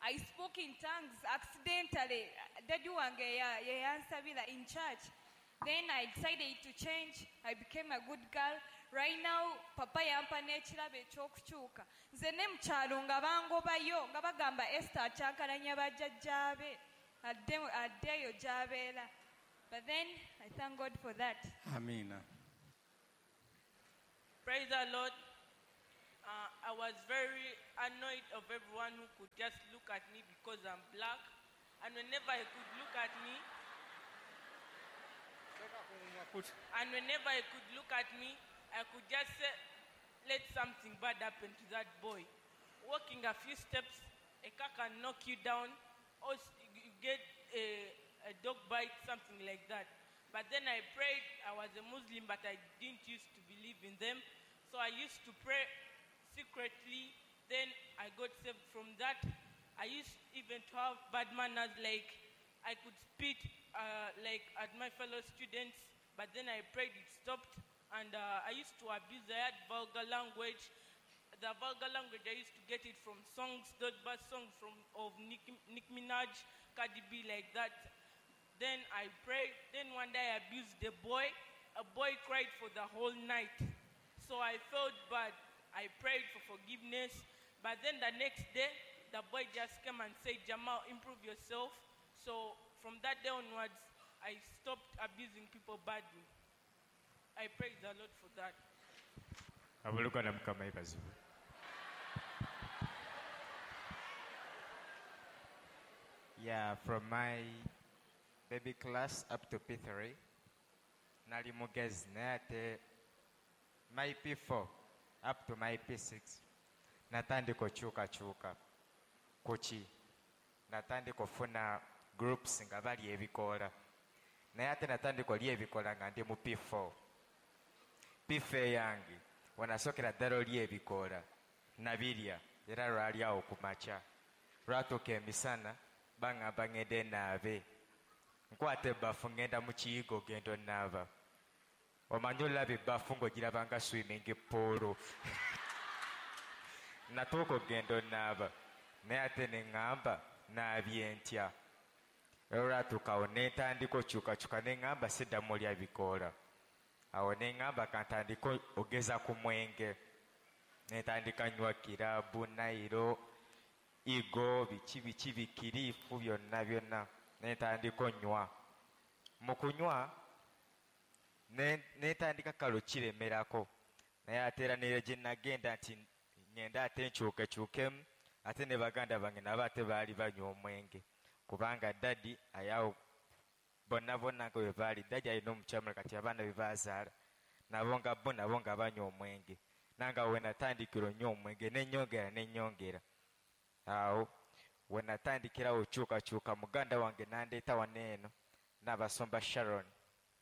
I spoke in tongues accidentally. Daddy wange yeyansabira in church. Then I decided to change. I became a good girl. Right now papa yampa n'ekirabo ekyokukyuka. Nze ne mukyalo nga bangobayo, nga bagamba Esther akyankalanya bajjajjaabe, addeyo gy'abeera. But then I thank God for that. Amiina. Praise the Lord. I was very annoyed of everyone who could just look at me because I'm black. And whenever I could look at me, I could just say, let something bad happen to that boy. Walking a few steps, a car can knock you down, or you get a dog bite, something like that. But then I prayed. I was a Muslim, but I didn't used to believe in them. So I used to pray secretly. Then I got saved from that. I used even to have bad manners, like I could spit like at my fellow students, but then I prayed, it stopped. And I used to abuse, I had vulgar language. The vulgar language, I used to get it from songs, those bad songs of Nicki Minaj, Cardi B, like that. Then I prayed. Then one day I abused a boy. A boy cried for the whole night. So I felt bad. I prayed for forgiveness. But then the next day, the boy just came and said, Jamal, improve yourself. So from that day onwards, I stopped abusing people badly. I praise the Lord for that. Abooluganda Mukama yeebazibwe. Yeah, from my baby class up to P3, nali mugezi naye ate my P4 up to my P6 natandika okyukakyuka kuki natandika ofuna groups nga bali ebikoola naye ate natandika olya ebikoola nga ndi mu P4. P4 yange wenasookera ddala olya ebikoola nabirya era lwali awo ku makya lwatuuka emisana baŋŋamba ŋŋende naabe nkwata ebbafu ŋŋenda mu kiyigo genda onaaba omanyi olaba ebbafu ng'ogiraba nga swimming pool natuuka okugenda onaaba naye ate ne ŋŋamba naabye ntya era olwatuuka awo ne ntandika okyukakyuka ne ŋŋamba siddamu olya bikoola awo ne ŋŋamba kantandika ogeza ku mwenge ne ntandika nywa kirabu nairo igo biki biki bikiriifu byonna byonna ne ntandika onywa mu kunywa ne ntandika kalo kiremerako naye ate era nere gye nagenda nti ŋŋenda ate nkyukekyukemu ate ne baganda bange nabo ate baali banywa omwenge kubanga dadi ayawo bonna bonna nga bwe baali dadi alina omukyamula kati abaana be baazaala nabo nga bo nabo nga banywa omwenge nange awo we natandikira onywa omwenge nennyongera nennyongera awo we natandikirawo okyukakyuka muganda wange nandeeta wano eno n'abasumba Sharon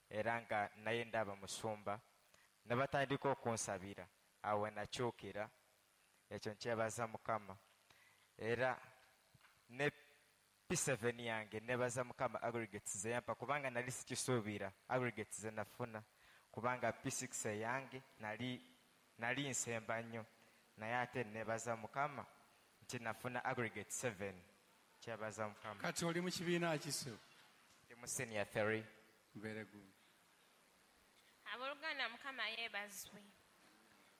era nga naye ndaba musumba ne batandika okunsabira awo we nakyukira ekyo nkyebaza Mukama era ne P7 yange nebaza Mukama aggregates ze yampa kubanga nali sikisuubira aggregates ze nafuna kubanga P6 yange nali nsemba nnyo naye ate nebaza Mukama nti nafuna aggregate 7 kyebaza Mukama. Kati oli mu kibiina ki ssebo? Ndi mu senior 3. Very good. Abooluganda Mukama yeebazibwe.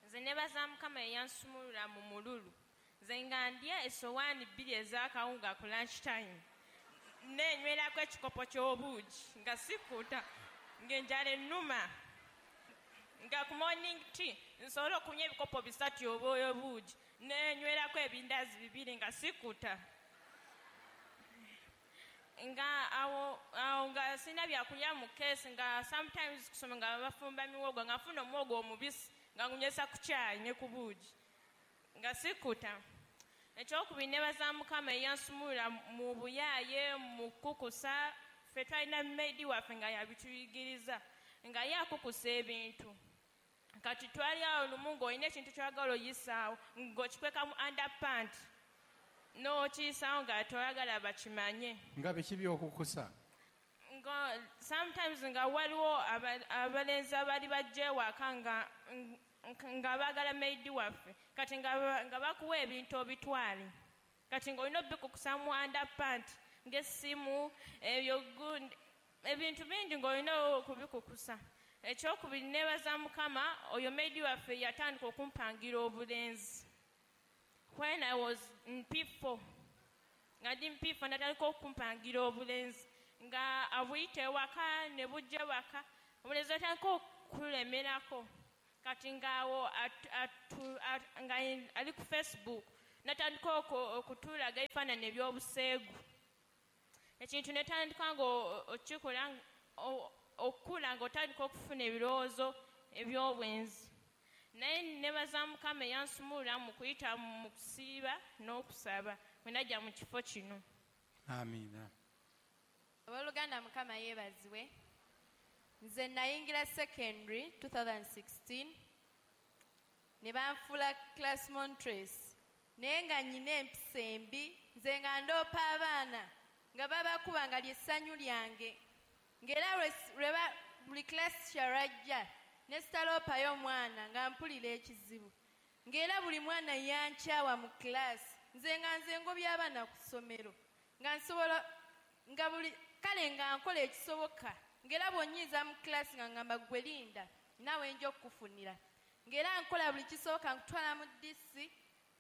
Nze nebaza Mukama eyansumulula mu mululu. Nze nga ndya essowaani 2 ez'akawunga ku lunch time neenywerako ekikopo ky'obuugi nga sikuta ng'enjala ennuma nga ku morning tea nsobola okunywa ebikopo 3 obw'obuugi neenywerako ebindazi 2 nga sikuta nga awo nga sirina byakulya mu keesi nga sometimes kusoma nga bafumba miwogo nga nfuna omuwogo omubisi nga ngunywesa ku kyayi ne ku buugi nga sikuta. Ekyokubiri nebaza Mukama eyansumulula mu buyaaye mu kukusa ffe twalina maidi waffe nga yabituyigiriza nga ye akukusa ebintu kati twali awo lumu ng'olina ekintu ky'oyagala oyisaawo ng'okikweka mu underpant n'okiyisaawo nga toyagala bakimanye. Nga biki by'okukusa? Nga sometimes nga waliwo abalenzi abaali bajja ewaka nga baagala maidi waffe kati nga bakuwa ebintu obitwale kati ng'olina obikukusa mu underpant ng'essimu ebyo ebintu bingi ng'olina okubikukusa. Ekyokubiri nebaza Mukama oyo maidi waffe yatandika okumpangira obulenzi. When I was in P4 nga ndi mu P4 natandika okumpangira obulenzi Nga abuyita ewaka ne bujja waka, obulenzi atandika okulemerako. Kati ng'awo nga ali ku Facebook natandika okutulaga ebifaananyi eby'obuseegu. Ekintu netandika nga okikola okukula ng'otandika okufuna ebirowoozo eby'obwenzi. Naye nebaza Mukama eyansumulula mu kuyita mu kusiiba n'okusaba bwe najja mu kifo kino. Amiina. Abooluganda, Mukama yeebazibwe. Nze nayingira secondary 2016 ne banfuula class monitress, naye nga nnyina empisa embi. Nze nga ndoopa abaana nga babakuba nga lyessanyu lyange, ng'era buli class kyalwajja ne sitaloopayo omwana nga mpulira ekizibu, ng'era buli mwana yankyawa mu class. Nze nga nze ngobya abaana ku ssomero, nga nsobola nga buli kale nga nkola ekisoboka, ng'era bw'onnyiiza mu class nga ngamba gwe linda naawe nja okukufunira, ng'era nkola buli kisoboka, nkutwala mu DC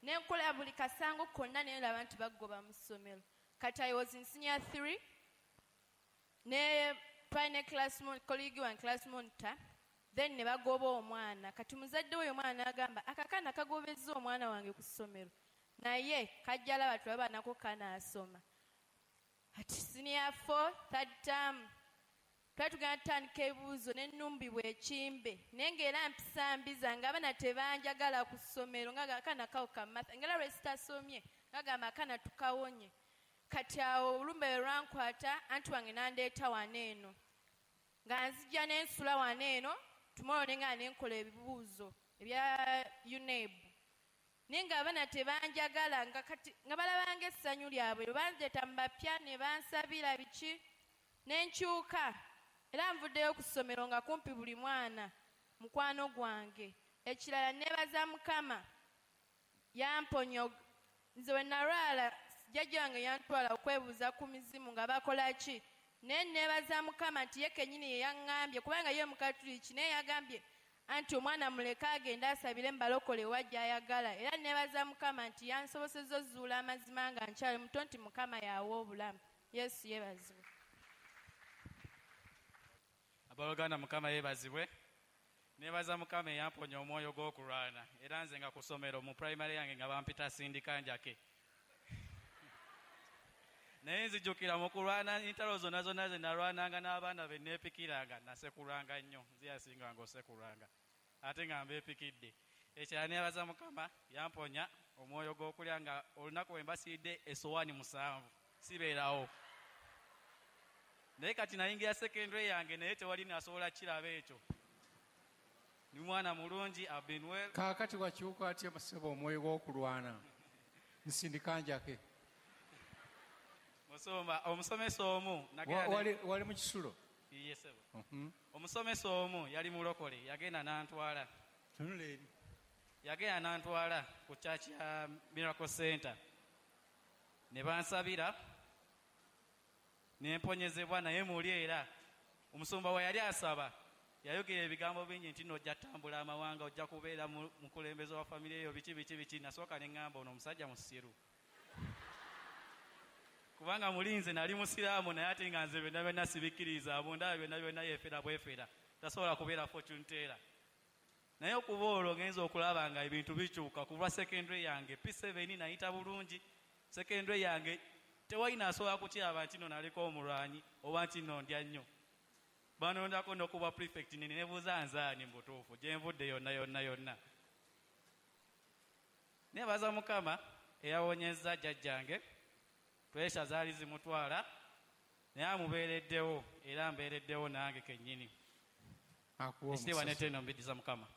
ne nkola buli kasango konna, naye laba nti baggoba mu ssomero. Kati I was in senior 3 ne twalina class colleague wange class monitor, then ne bagoba omwana. Kati muzadde we omwana n'agamba akakaana kagobezza omwana wange ku ssomero, naye kajja laba tulaba nako kanaasoma. Ati senior 4 third term twali tugenda tutandika ebibuuzo n'ennumbibwa ekimbe, naye ng'era mpisa mbi zange, abaana tebanjagala ku ssomero, nga akaana kawo kamatha, ng'era lwe sitasomye ngagamba akaana tukawonye. Kati awo olumbe lwe lwankwata, anti wange n'andeeta wano eno, nga nzija ne nsula wano eno tomorrow ne nga ne nkola ebibuuzo ebya UNEB, naye ng'abaana tebanjagala, nga kati nga balabanga essanyu lyabwe, lwe bandeeta mu bapya ne bansabira biki ne nkyuka. Era nvuddeyo ku ssomero nga kumpi buli mwana mukwano gwange. Ekirala neebaza Mukama yamponya. Nze we nalwala jjajja wange yantwala okwebuuza ku mizimu nga bakola ki, naye neebaza Mukama nti ye kennyini ye yaŋŋambye, kubanga ye Mukatuliki, naye yagambye anti omwana muleke agende asabire mubalokole wa gy'ayagala. Era neebaza Mukama nti yansobosezza ozuula amazima nga nkyali muto nti Mukama y'awa obulamu. Yesu yeebazibwe. Abooluganda, Mukama yeebazibwe. Neebaza Mukama eyamponya omwoyo gw'okulwana. Era nze nga ku ssomero mu primary yange nga bampita sindika njake, naye nzijukira mu kulwana entalo zonna zonna ze nalwananga n'abaana be neepikiranga, nasekulwanga nnyo, nze yasinganga osekulwanga ate nga mbeepikidde. Ekirala neebaza Mukama yamponya omwoyo gw'okulya, nga olunaku we mbasiidde essowaani 7 sibeerawo. Naye kati nayingira secondary yange, naye tewali nasobola kiraba ekyo. Ni mwana mulungi, I've been well. Kaakati wakyuka atya ssebo omwoyo gw'okulwana nsindika njake? Musumba, omusomesa omu wali mu kisulo? Ye ssebo. Omusomesa omu yali mulokole, yagenda n'antwala. Tunula eri. Yagenda n'antwala ku church ya Miracle Center ne bansabira ne mponyezebwa. Naye muli era omusumba we yali asaba yayogera ebigambo bingi nti nojja tambula amawanga, ojja kubeera mukulembeze wa famire eyo, biki biki biki. Nasooka ne ŋŋamba ono omusajja musiru, kubanga mulinze nali musiraamu, naye ate nga nze byonna byonna sibikkiriza, bundaba byonna byonna yeefera bwefera, tasobola kubeera fortune teller. Naye okuba olwo ngenza okulaba nga ebintu bikyuka. Kuva secondary yange P7 nayita bulungi. Secondary yange tewali nasobola kukiraba nti nno naliko omulwanyi oba nti nno ndya nnyo. Banondako n'okuba prefect, ne nebuuza nzaani mu butuufu gye nvudde yonna yonna yonna. Neebaza Mukama eyawonyezza jjajjange, puresha zaali zimutwala, naye amubeereddewo era mbeereddewo nange kennyini. Ekitiibwa n'ettendo mbiddiza Mukama.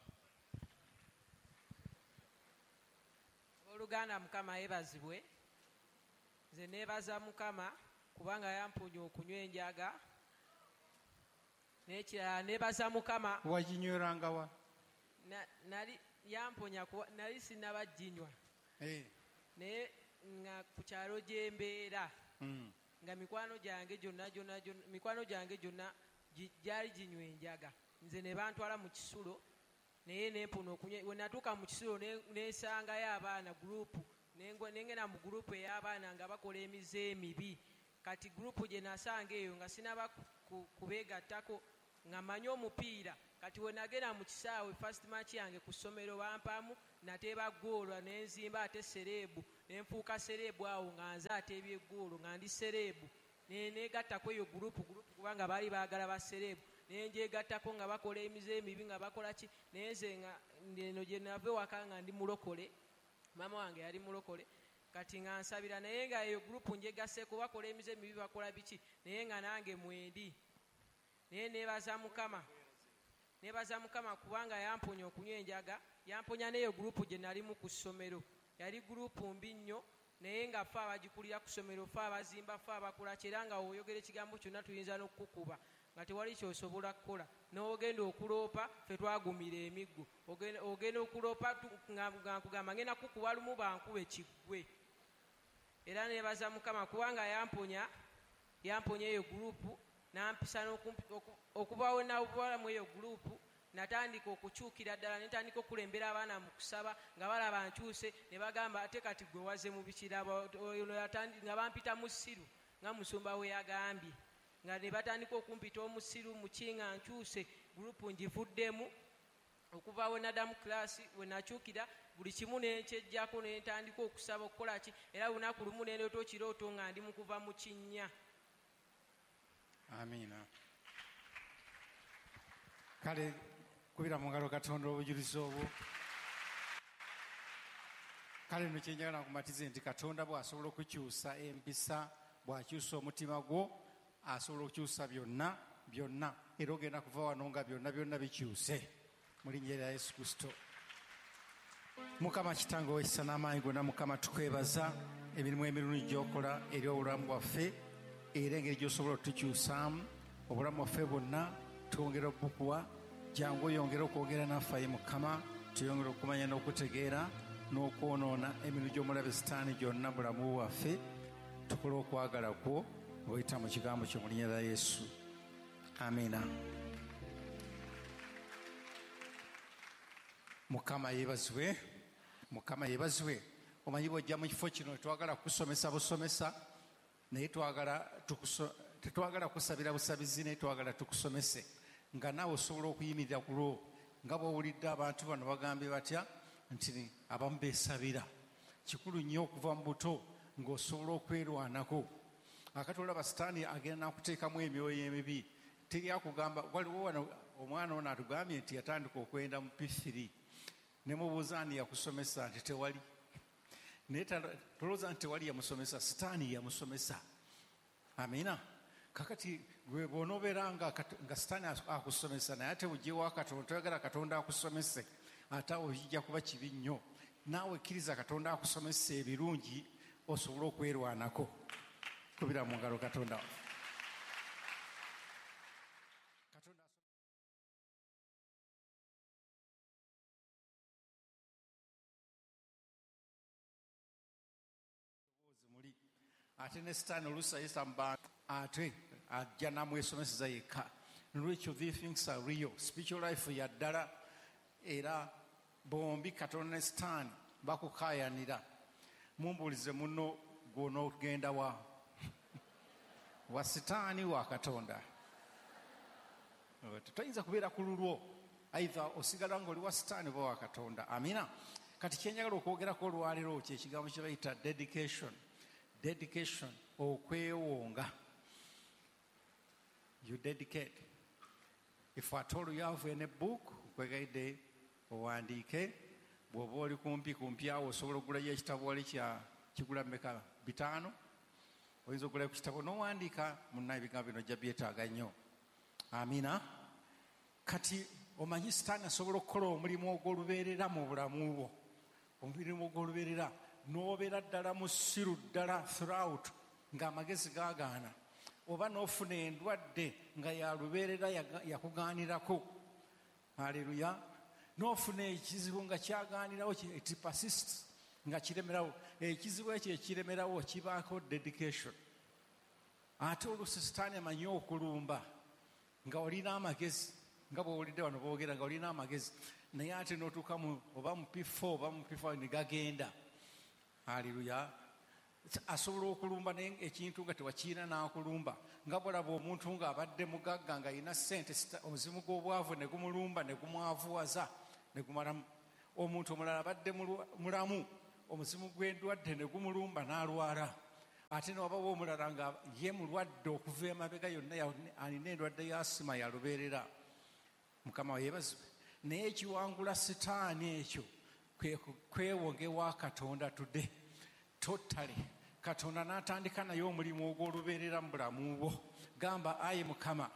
Abooluganda, Mukama yeebazibwe. Nze neebaza Mukama kubanga yamponya okunywa enjaga. N'ekirala neebaza Mukama. Waginyweranga wa? Nali yamponya nali sinnaba ginywa. Naye nga ku kyalo gye mbeera nga mikwano gyange gyonna gyonna mikwano gyange gyonna gyali ginywa enjaga. Nze ne bantwala mu kisulo, naye nempona okunywa. We natuuka mu kisulo nensangayo abaana gurupu, nengenda mu gurupu ey'abaana nga bakola emize emibi. Kati gurupu gye nasanga eyo nga sinaba kubeegattako nga mmanyi omupiira. Kati we nagenda mu kisaawe first match yange ku ssomero bampaamu nateeba ggoolo ne nzimba ate sereebu ne nfuuka sereebu awo nga nze ateebye eggoolo nga ndi sereebu. Ne neegattako eyo gurupu kubanga baali baagala ba sereebu. Ne njegattako nga bakola emize emibi nga bakola ki, naye nze nga eno gye nava ewaka nga ndi mulokole, maama wange yali mulokole. Kati nga nsabira naye nga eyo gurupu njegaseeko bakola emize emibi bakola biki, naye nga nange mwendi. Naye neebaza Mukama. Neebaza Mukama kubanga yamponya okunywa enjaga, yamponya n'eyo gurupu gye nalimu ku ssomero. Yali gurupu mbi nnyo, naye nga ffe abagikulira ku ssomero, ffe abazimba, ffe abakola ki, era nga w'oyogera ekigambo kyonna tuyinza n'okukukuba nga tewali ky'osobola kukola. N'ogenda okuloopa, ffe twagumira emiggo. Ogenda okuloopa nga nkugamba ngenda kukuba lumu bankube kiggwe. Era neebaza Mukama kubanga yamponya eyo gurupu, n'ampisa okuba we mu eyo gurupu. Natandika okukyukira ddala, ne ntandika okulembera abaana mu kusaba nga balaba nkyuse, ne bagamba ate kati gwe waze mu bikirabo. Nga bampita musiru nga musumba we yagambye, nga ne batandika okumpita omusiru muki nga nkyuse. Gurupu ngivuddemu okuva we naddamu class we nakyukira buli kimu ne nkyeggyako ne ntandika okusaba okukola ki, era lunaku lumu ne ndoota ekirooto nga ndi mu kuva mu kinnya. Amiina. Kale kubira mu ngalo Katonda obujulizi obwo. Kale nno kye njagala nkumatize nti Katonda bw'asobola okukyusa empisa, bw'akyusa omutima gwo, asobola okukyusa byonna byonna, era ogenda kuva wano nga byonna byonna bikyuse mu linnya lya Yesu Kristo. Mukama Kitange ow'ekisa n'amaanyi gonna, Mukama tukwebaza emirimu emirungi gy'okola eri obulamu bwaffe, era engeri gy'osobola otukyusaamu obulamu bwaffe bwonna. Twongera okubukuwa, jangu oyongere okwogera naffe ayi Mukama, tuyongere okumanya n'okutegeera n'okwonoona emirimu gy'omulabe Sitaani gyonna mu bulamu bwaffe. Tukole okwagala kwo ng'oyita mu kigambo kyo mu linnya lya Yesu. Amiina. Mukama yeebazibwe. Mukama yeebazibwe. Omanyi bw'ojja mu kifo kino twagala kusomesa busomesa, naye tetwagala kusabira busabizi, naye twagala tukusomese nga naawe osobola okuyimirira ku lwo, nga bw'owulidde abantu bano bagambye batya nti abamu beesabira. Kikulu nnyo okuva mu buto ng'osobola okwerwanako. Akati olaba Sitaani agenda n'akuteekamu emyoyo emibi. Teri akugamba. Waliwo wano omwana ono atugambye nti yatandika okwenda mu P3, ne mubuuza ani yakusomesa nti tewali. Naye tolowooza nti tewali yamusomesa, Sitaani yamusomesa. Amiina. Kakati gwe bw'onoobeera nga Sitaani akusomesa naye ate ojje wa Katonda, toyagala Katonda akusomese, ate awo kijja kuba kibi nnyo. Naawe kkiriza Katonda akusomese ebirungi osobole okwerwanako. Kubira mu ngalo Katonda. Muli ate ne Sitaani oluusi ayisa mu bantu, ate ajja n'amwesomeseza yekka. Nolwekyo these things are real. Spiritual life ya ddala, era bombi Katonda ne Sitaani bakukaayanira. Mumbuulize munno gw'onoogenda wa? Wa Sitaani wa Katonda? Toyinza kubeera ku lulwo, either osigala ng'oli wa Sitaani oba wa Katonda. Amiina. Kati kye njagala okwogerako olwaleero kye kigambo kye bayita dedication. Dedication, okwewonga. You dedicate. If at all you have any book, nkwegayidde owandiike. Bw'oba oli kumpi kumpi awo osobola okugulayo ekitabo wali kya kigula mmeka? 5. Oyinza okugulayo ku kitabo n'owandiika, munna ebigambo bino ojja byetaaga nnyo. Amiina. Kati omanyi Sitaani asobola okukola omulimu ogw'olubeerera mu bulamu bwo, omulimu ogw'olubeerera n'obeera ddala musiru ddala throughout ng'amagezi gaagaana, oba n'ofuna endwadde nga ya lubeerera yakugaanirako. Haleluya. N'ofuna ekizibu nga kyagaanirawo, it persists, nga kiremerawo. Ekizibu ekyo ekiremerawo kibaako dedication. Ate oluusi Sitaani amanyi okulumba nga olina amagezi, nga bw'owulidde wano boogera nga olina amagezi, naye ate n'otuuka oba mu P4 oba mu P5 ne gagenda. Haleluya. Asobola okulumba naye ekintu nga tewakiina n'akulumba. Nga bw'olaba omuntu ng'abadde mugagga ng'alina ssente, omuzimu gw'obwavu ne gumulumba ne gumwavuwaza ne gumalamu. Omuntu omulala abadde mulamu, omuzimu gw'endwadde ne gumulumba n'alwala. Ate ne wabawo omulala nga ye mulwadde okuva emabega yonna, alina endwadde ya asima yalubeerera. Mukama yeebazibwe. Naye ekiwangula sitaani ekyo kwe kwewonga ewa Katonda today totally. Katonda n'atandika naye omulimu ogw'olubeerera mu bulamu bwo. Gamba, ayi Mukama.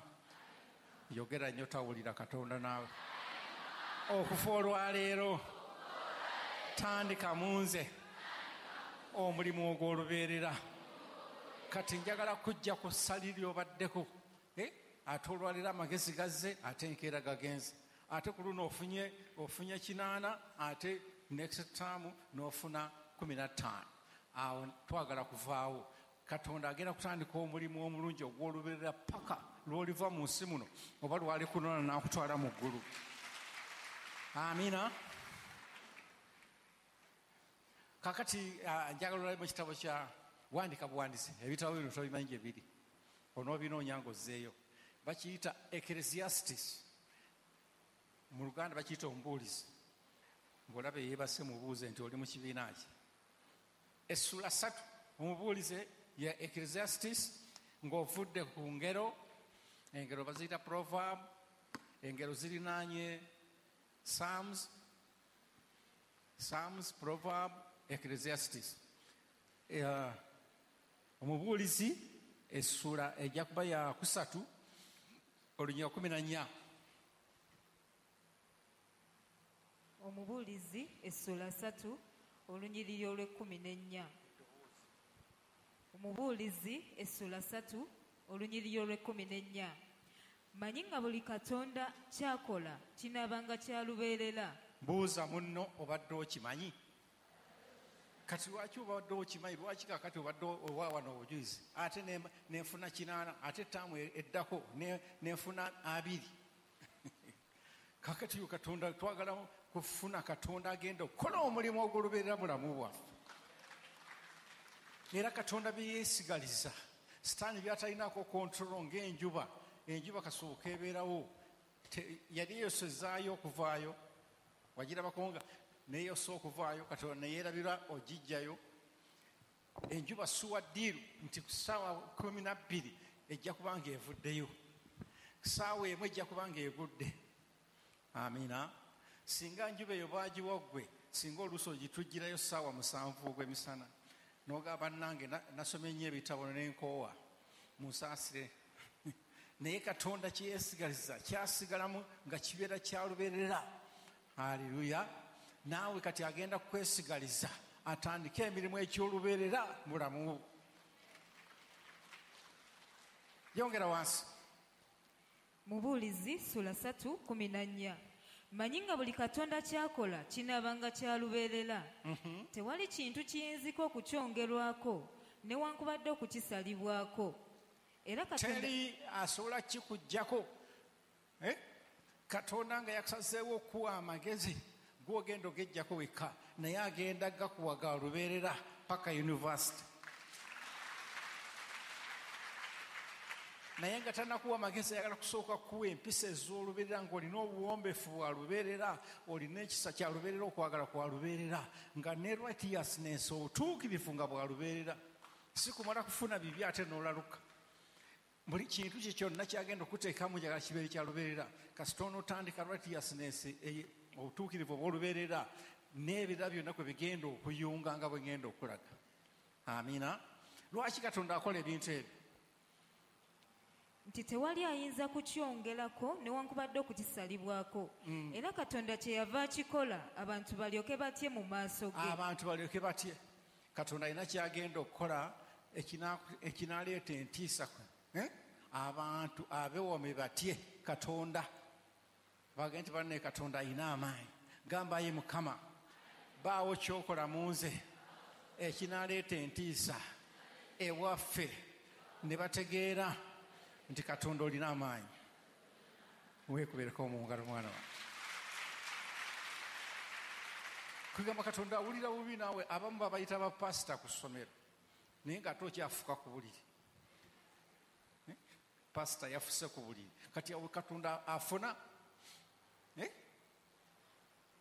Yogera nnyo, tawulira Katonda naawe. Okufa olwaleero tandika mu nze omulimu ogw'olubeerera. Kati njagala kujja ku ssali ly'obaddeko. Ate olwaleero amagezi gazze, ate enkeera gagenze. Ate ku luno ofunye 8, ate next term n'ofuna 15. Awo twagala kuvaawo. Katonda agenda kutandika omulimu omulungi ogw'olubeerera paka lw'oliva mu nsi muno, oba lwali kunona n'akutwala mu ggulu. Amiina. Kakati njagala olabe mu kitabo kya wandika buwandiisi, ebitabo bino tobimanyi gye biri, onoobinoonya ng'ozzeeyo. Bakiyita Ecclesiastes, mu Luganda bakiyita omubuulizi. Ng'olaba yeebase mubuuze nti oli mu kibiina ki. Essula 3 omubuulize ya Ecclesiastes, ng'ovudde ku ngero. Engero baziyita proverb, engero zirinaanye Psalms, Psalms, proverb, Ecclesiastes. Omubuulizi essula ejja kuba ya 3 olunya 14. Omubuulizi essula 3 olunyiriri olw'ekkumi n'ennya. Omubuulizi essula 3 olunyiriri olw'ekkumi n'ennya. Manyi nga buli Katonda kyakola kinaabanga kya lubeerera. Buuza munno, obadde okimanyi? Kati lwaki obadde okimanyi? Lwaki kakati obadde owa wano obujulizi? Ate nenfuna 8, ate ttaamu eddako nenfuna 20. Kakati yo Katonda twagala kufuna Katonda agenda okukola omulimu ogw'olubeerera bulamu bwaffe. Era Katonda bye yeesigaliza, Sitaani by'atalinaako control, ng'enjuba. Enjuba kasooka ebeerawo, yali eyosezaayo okuvaayo, wagirabako nga neeyosa okuvaayo, Katonda neyeerabira ogijjayo. Enjuba suwa ddiiru nti ku ssaawa 12 ejja kuba ng'evuddeyo, ku ssaawa 1 ejja kuba ng'egudde. Amiina. Singa njuba eyo baagiwa ggwe, singa oluusi ogitujjirayo ssaawa 7 ogw'emisana, n'ogamba bannange nasomye nnyo ebitabo n'enkoowa, munsaasire. Naye Katonda kye yeesigaliza kyasigalamu nga kibeera kya lubeerera. Haleluya. Naawe kati agenda kukwesigaliza atandike emirimu eky'olubeerera mu bulamu bwo. Yongera wansi. Mubuulizi sula 3:14. Manyi nga buli Katonda kyakola kinaabanga kya lubeerera. Tewali kintu kiyinzika okukyongerwako newankubadde okukisalibwako. Era Katonda teri asobola kikuggyako. Katonda nga yakusazeewo okuwa amagezi, gw'ogenda ogeggyako wekka, naye agenda gakuwa ga lubeerera paka university. Naye nga tannakuwa amagezi, ayagala kusooka kuwa empisa ez'olubeerera, ng'olina obuwombeefu bwa lubeerera, olina ekisa kya lubeerera, okwagala kwa lubeerera, nga ne righteousness, obutuukirivu nga bwa lubeerera. Si kumala kufuna bibi ate n'olaluka. Buli kintu kye kyonna kyagenda okuteekamu njagala kibeere kya lubeerera. Kasita onootandika righteousness, obutuukirivu obw'olubeerera, n'ebirala byonna kwe bigenda okuyunga nga bwe ngenda okulaga. Amiina. Lwaki Katonda akola ebintu ebyo? Nti tewali ayinza kukyongerako newankubadde okukisalibwako. Era Katonda kye yava akikola abantu balyoke batye mu maaso ge. Abantu balyoke batye. Katonda alina kyagenda okukola ekinaleeta entiisa. Abantu abewome batye Katonda. Bagende nti banne Katonda alina amaanyi. Gamba ye Mukama, baawo ky'okola mu nze ekinaleeta entiisa ewaffe, ne bategeera nti Katonda olina amaanyi. Weekubeereko mu ngalo mwana wange. Kugamba Katonda awulira bubi naawe. Abamu babayita bapasita ku ssomero. Naye ng'ate okyafuka ku buliri. Pasita yafuse ku buliri. Kati awo Katonda afuna.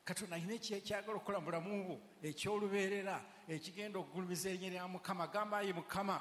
Katonda alina ekyagala okukola mu bulamu bwo eky'olubeerera, ekigenda okugulumiza erinnya lya Mukama. Gamba, ayi Mukama.